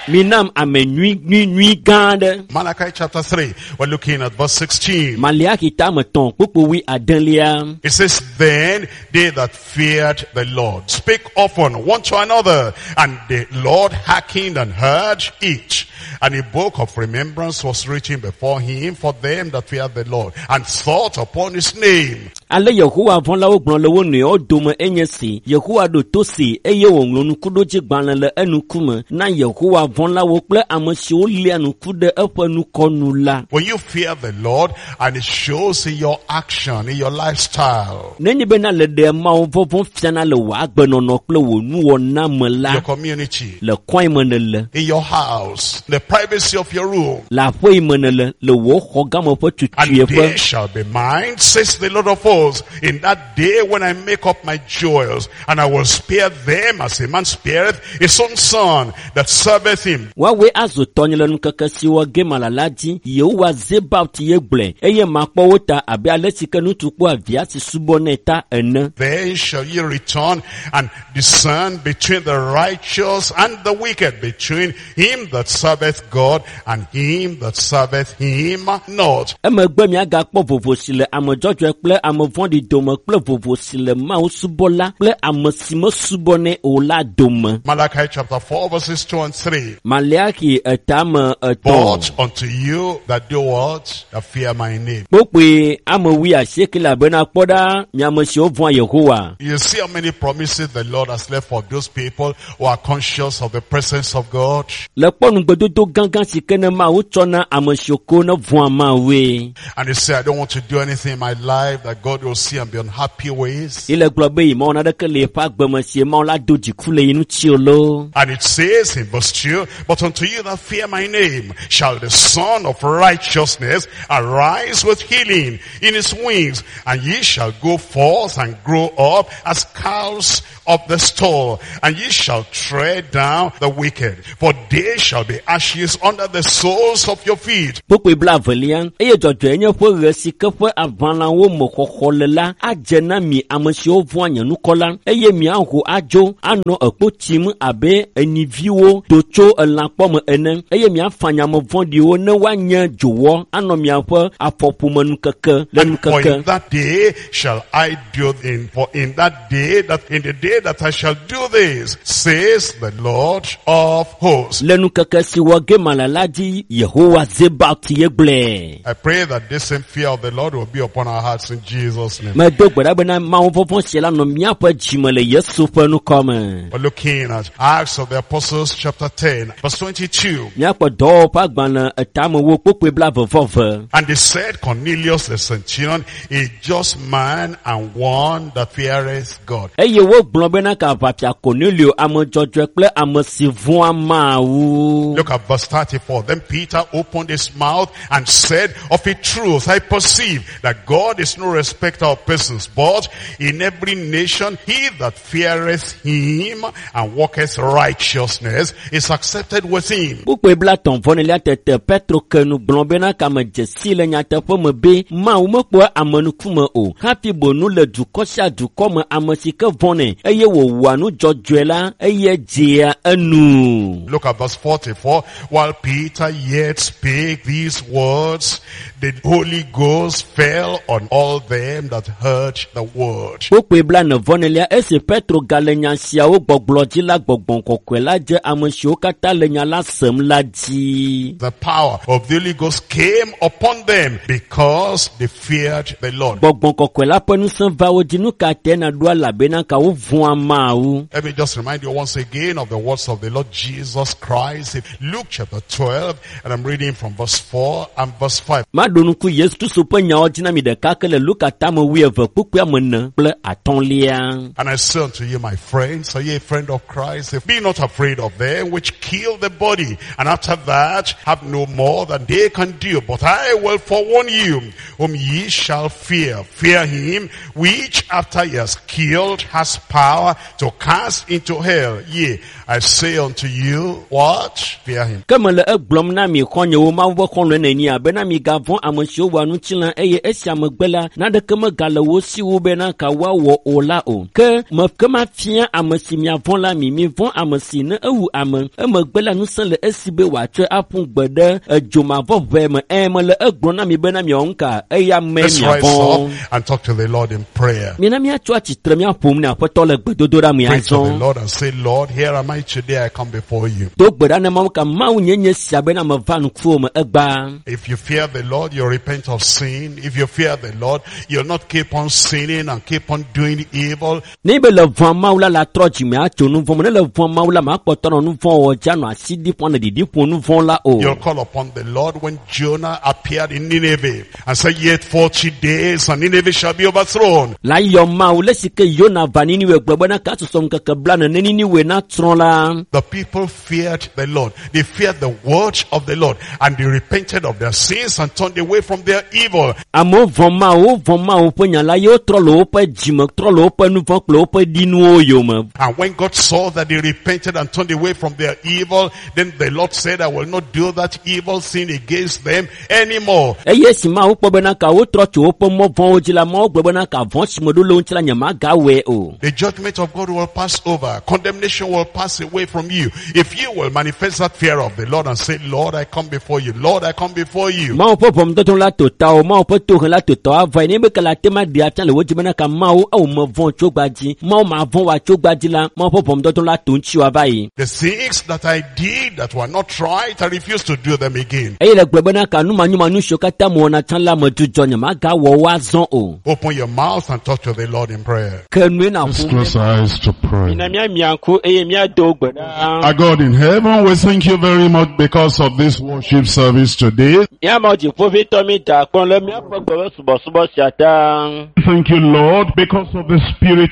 Minam ame nyui, nyui, nyui gã aɖe. Malachi chapter 3, we're looking at verse 16. Maleaxi tame tɔ̃ kpukpui wui adelia. It says, then they that feared the Lord spake often one to another, and the Lord hearkened and heard each. And a book of remembrance was written before him for them that feared the Lord, and thought upon his name. Ale Yehowa vɔ̃lawo gblɔ le wo nɔewo dome enye si, Yehowa ɖo to si eye wòŋlɔ nukuɖodzigbalẽ le enukume na Yehowa vɔ̃lawo kple ame siwo lia nuku ɖe eƒe nukɔnu la. When you fear the Lord, and it shows in your action, in your lifestyle, Nenye bena le ɖe Mawu vɔvɔ̃ fiana le wò agbenɔnɔ kple wò nuwɔna me la, your community, le kɔe me nèle, in your house, the privacy of your room, le aƒe yi me nèle, le wò xɔgãme ƒe and tutuiƒe. they shall be mine, says the Lord of hosts. hosts, in that day when I make up my jewels, and I will spare them as a man spareth his own son that serveth him. Woawoe azu tɔnye le ŋkeke si wɔ ge mala la dzi. Yehowa Zebaot ye gblɔe eye makpɔ wo ta abe ale si ke ŋutsu kpɔa via si subɔnɛ ta ene. Then shall ye return and discern between the righteous and the wicked, between him that serveth God and him that serveth him not. Emegbe miagakpɔ vovo si le ame dzɔdzɔe kple ame vɔ̃ɖi dome kple vovo si le Mawu subɔla kple ame si mesubɔnɛ o la dome. Malachi chapter 4 verses 2 and 3. Maleaxi etame etɔ̃. But unto you that do what? That fear my name. Kpokpoe ame wuiasieke elabena kpɔ ɖa mi ame siwo vɔ̃a Yehowa. You see how many promises the Lord has left for those people who are conscious of the presence of God. Le kpɔ nugbedodo gãgã si ke ne Mawu tsɔ na ame siwo ko ne vɔ̃a Mawue. And they say, I don't want to do anything in my life that God will see and be unhappy with. Ye le gblɔ be yi mawɔ naɖeke le yeƒe agbeme si Mawu la do dziku le yi ŋuti o loo. And it says in verse 2, but unto you that fear my name shall the Son of Righteousness arise with healing in his wings, and ye shall go forth and grow up as calves of the stall, and ye shall tread down the wicked, for they shall be ashes under the soles of your feet. Kpokpoe blaevelia eye dzɔdzɔe nye ƒe ɣe si ke ƒe aʋalãwo me xɔxɔ le la adze na mi ame siwo vɔ̃a nye ŋkɔ la eye miaho adzo anɔ ekpo tim abe enyiviwo do tso elãkpɔ me ene eye miafanya ame vɔ̃ɖiwo ne woanye dzowɔ anɔ miaƒe afɔƒome nukeke le And for nukeke. in that day shall I do in, for in that day that in the day that I shall do this, says the Lord of hosts. Le nukeke si wɔ ge mala la dzi Yehowa Zebaot ye gblɔe. I pray that this same fear of the Lord will be upon our hearts in Jesus' name. Medo gbe ɖa bena Mawu vɔvɔ̃ sia la nɔ míaƒe dzime le Yesu ƒe ŋkɔ me. We're looking at Acts of the Apostles chapter 10, verse 22. Míakpɔ dɔwɔwɔ ƒe agbalẽ etamewo kpokpoe blaeve-vɔ-eve. And they said, Cornelius the centurion, a just man and one that feareth God. Eye wogblɔ bena ka aʋafia Cornelio ame dzɔdzɔe kple ame si vɔ̃a Mawu. Look at verse 34. Then Peter opened his mouth and said, Of a truth, I perceive that God is no respecter of persons, but in every nation he that feareth him and walketh righteousness is accepted with him. Kpukpui blatɔ̃ vɔnelia tete Petro ke nu gblɔ bena kame dze si le nyateƒe me be Mawu mekpɔa ame ŋkume o hafi bonu le dukɔ sia dukɔ me ame si ke vɔ̃nɛ eye wòwɔa nu dzɔdzɔe la eye dzea enu. Look at verse 44. While Peter yet spake these words, the Holy Ghost fell on all them that heard the word. Kpukpui blanevɔnelia esi Petro gale nya siawo gbɔgblɔ dzi la gbɔgbɔ kɔkɔe la dze ame siwo katã le nya la sem la dzi. The power of the Holy Ghost came upon them because they feared the Lord. Gbɔgbɔ kɔkɔe la ƒe ŋusẽ va wo dzi nu ka tɛ naɖo elabena ka wovɔ̃a Mawu. Let me just remind you once again of the words of the Lord Jesus Christ. In Luke chapter 12, and I'm reading from verse 4 and verse 5. Maɖo ŋku Yesu Kristo ƒe nyawo dzi na mi ɖeka ke le Luka tame wuieve kpukpui ame ene kple atɔ̃lia. And I say unto you, my friends, are you a friend of Christ? Be not afraid of them which kill the body, and after that have no more than they can do. But I will forewarn you, whom ye shall fear. Fear him which after he has killed has power to cast into hell. Yea, I say unto you, what? Fear him. Ke mele egblɔm na mi xɔ̃nyewo Mawu ƒe xɔlɔ̃e nènye bena migavɔ̃ ame siwo wɔa ŋutilã eye esia megbe la naneke megale wo si wu bena ka woawɔ o la o. Ke me ke mafia ame si miavɔ̃ la mi mivɔ̃ ame si ne ewu ame emegbe la ŋusẽ le esi be wòatsɔe aƒu gbe ɖe edzomavɔʋe me. Ẽ mele egblɔm na mi bena miawɔ nu ka eya mee Let's rise miavɔ̃. up and talk to the Lord in prayer. Mina míatso atsitre míaƒom ne aƒetɔ le gbedodoɖa me Pray to the azɔ. Lord and say, Lord, here am I today. I come before you. Do gbe ɖa ne Mawu ka Mawu nye nye sia bena meva ŋkuwò me egbea. If you fear the Lord, you repent of sin. If you fear the Lord, you'll not keep on sinning and keep on doing evil. Ne be le vɔ̃a Mawu la la trɔ dzime atso nu vɔ̃ me. Ne le vɔ̃a Mawu la makpɔtɔ nɔ nu vɔ̃ wɔ dzi anɔ asi ɖi ƒo anɔ ɖiɖi ƒo nu vɔ̃ la o. You'll call upon the Lord when Jonah appeared in Nineveh and said, yet 40 days and Nineveh shall be overthrown. La yɔ Mawu le si ke Yona va Niniwe gblɔ gblɔ bena ka susɔ ŋkeke blane ne Niniwe natsrɔ̃ la the people feared the Lord. They feared the word of the Lord and they repented of their sins and turned away from their evil. Amewo vɔ̃ Mawu, wovɔ̃ Mawu ƒe nya la ye wotrɔ le woƒe dzime, trɔ le woƒe nu vɔ̃ kple woƒe ɖinuwo yome. And when God saw that they repented and turned away from their evil, then the Lord said, I will not do that evil thing against them anymore. Eye esi Mawu kpɔ bena ka wotrɔ tso woƒe mɔ vɔ̃wo dzi la, Mawu gblɔ bena ka vɔ̃ si meɖo le wo ŋuti la nyemagawɔe o. The judgment of God will pass over. Condemnation will pass away from you. If you will manifest that fear of the Lord and say, Lord, I come before you. Lord, I come before you. Mawu ƒe ʋɔnudɔdrɔ̃ la to tawò, Mawu ƒe tohe la to tawò ava yi ne be ke le ate ma ɖe afia le wò dzi bena ka Mawu ewò mevɔ̃ tso gba dzi, Mawu mavɔ̃ wòa tso gba dzi la, Mawu ƒe ʋɔnudɔdrɔ̃ la to ŋutiwò ava yi. The things that I did that were not right, I refuse to do them again. Eye le gblɔ bena ka numanyumanyu siwo katã mewɔna tsã la medzudzɔ nyemagawɔ wo azɔ o. Open your mouth and talk to the Lord in prayer. Ke nue na Let's ƒo close our eyes to pray. Mina míamia ŋku eye míado gbe ɖa. Our God in heaven, we thank you very much because of this worship service today. Míamewo dziƒoʋĩtɔ mi da akpɔ le míaƒe gbe ƒe subɔsubɔ sia ta. Thank you, Lord, because of the Spirit.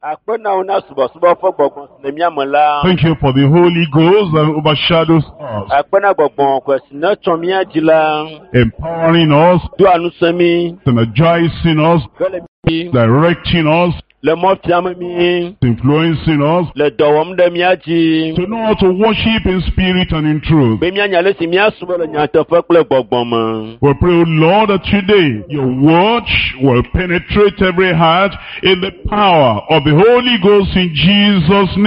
Akpe na wo na subɔsubɔ ƒe gbɔgbɔ si le mía me la. Thank you for the Holy Ghost that overshadows us, Akpe na gbɔgbɔ kɔkɔe si ne tsɔ mía dzi la. empowering us, Doa ŋusẽ mí. energizing us, Hele mí. directing us, Le mɔ fiam mí. influencing us Le dɔ wɔm ɖe mía dzi. to know how to worship in spirit and in truth. Be míanya ale si míasubɔ le nyateƒe kple gbɔgbɔ me. We pray, O Lord, that today your word will penetrate every heart in the power of the Holy Ghost in Jesus' name.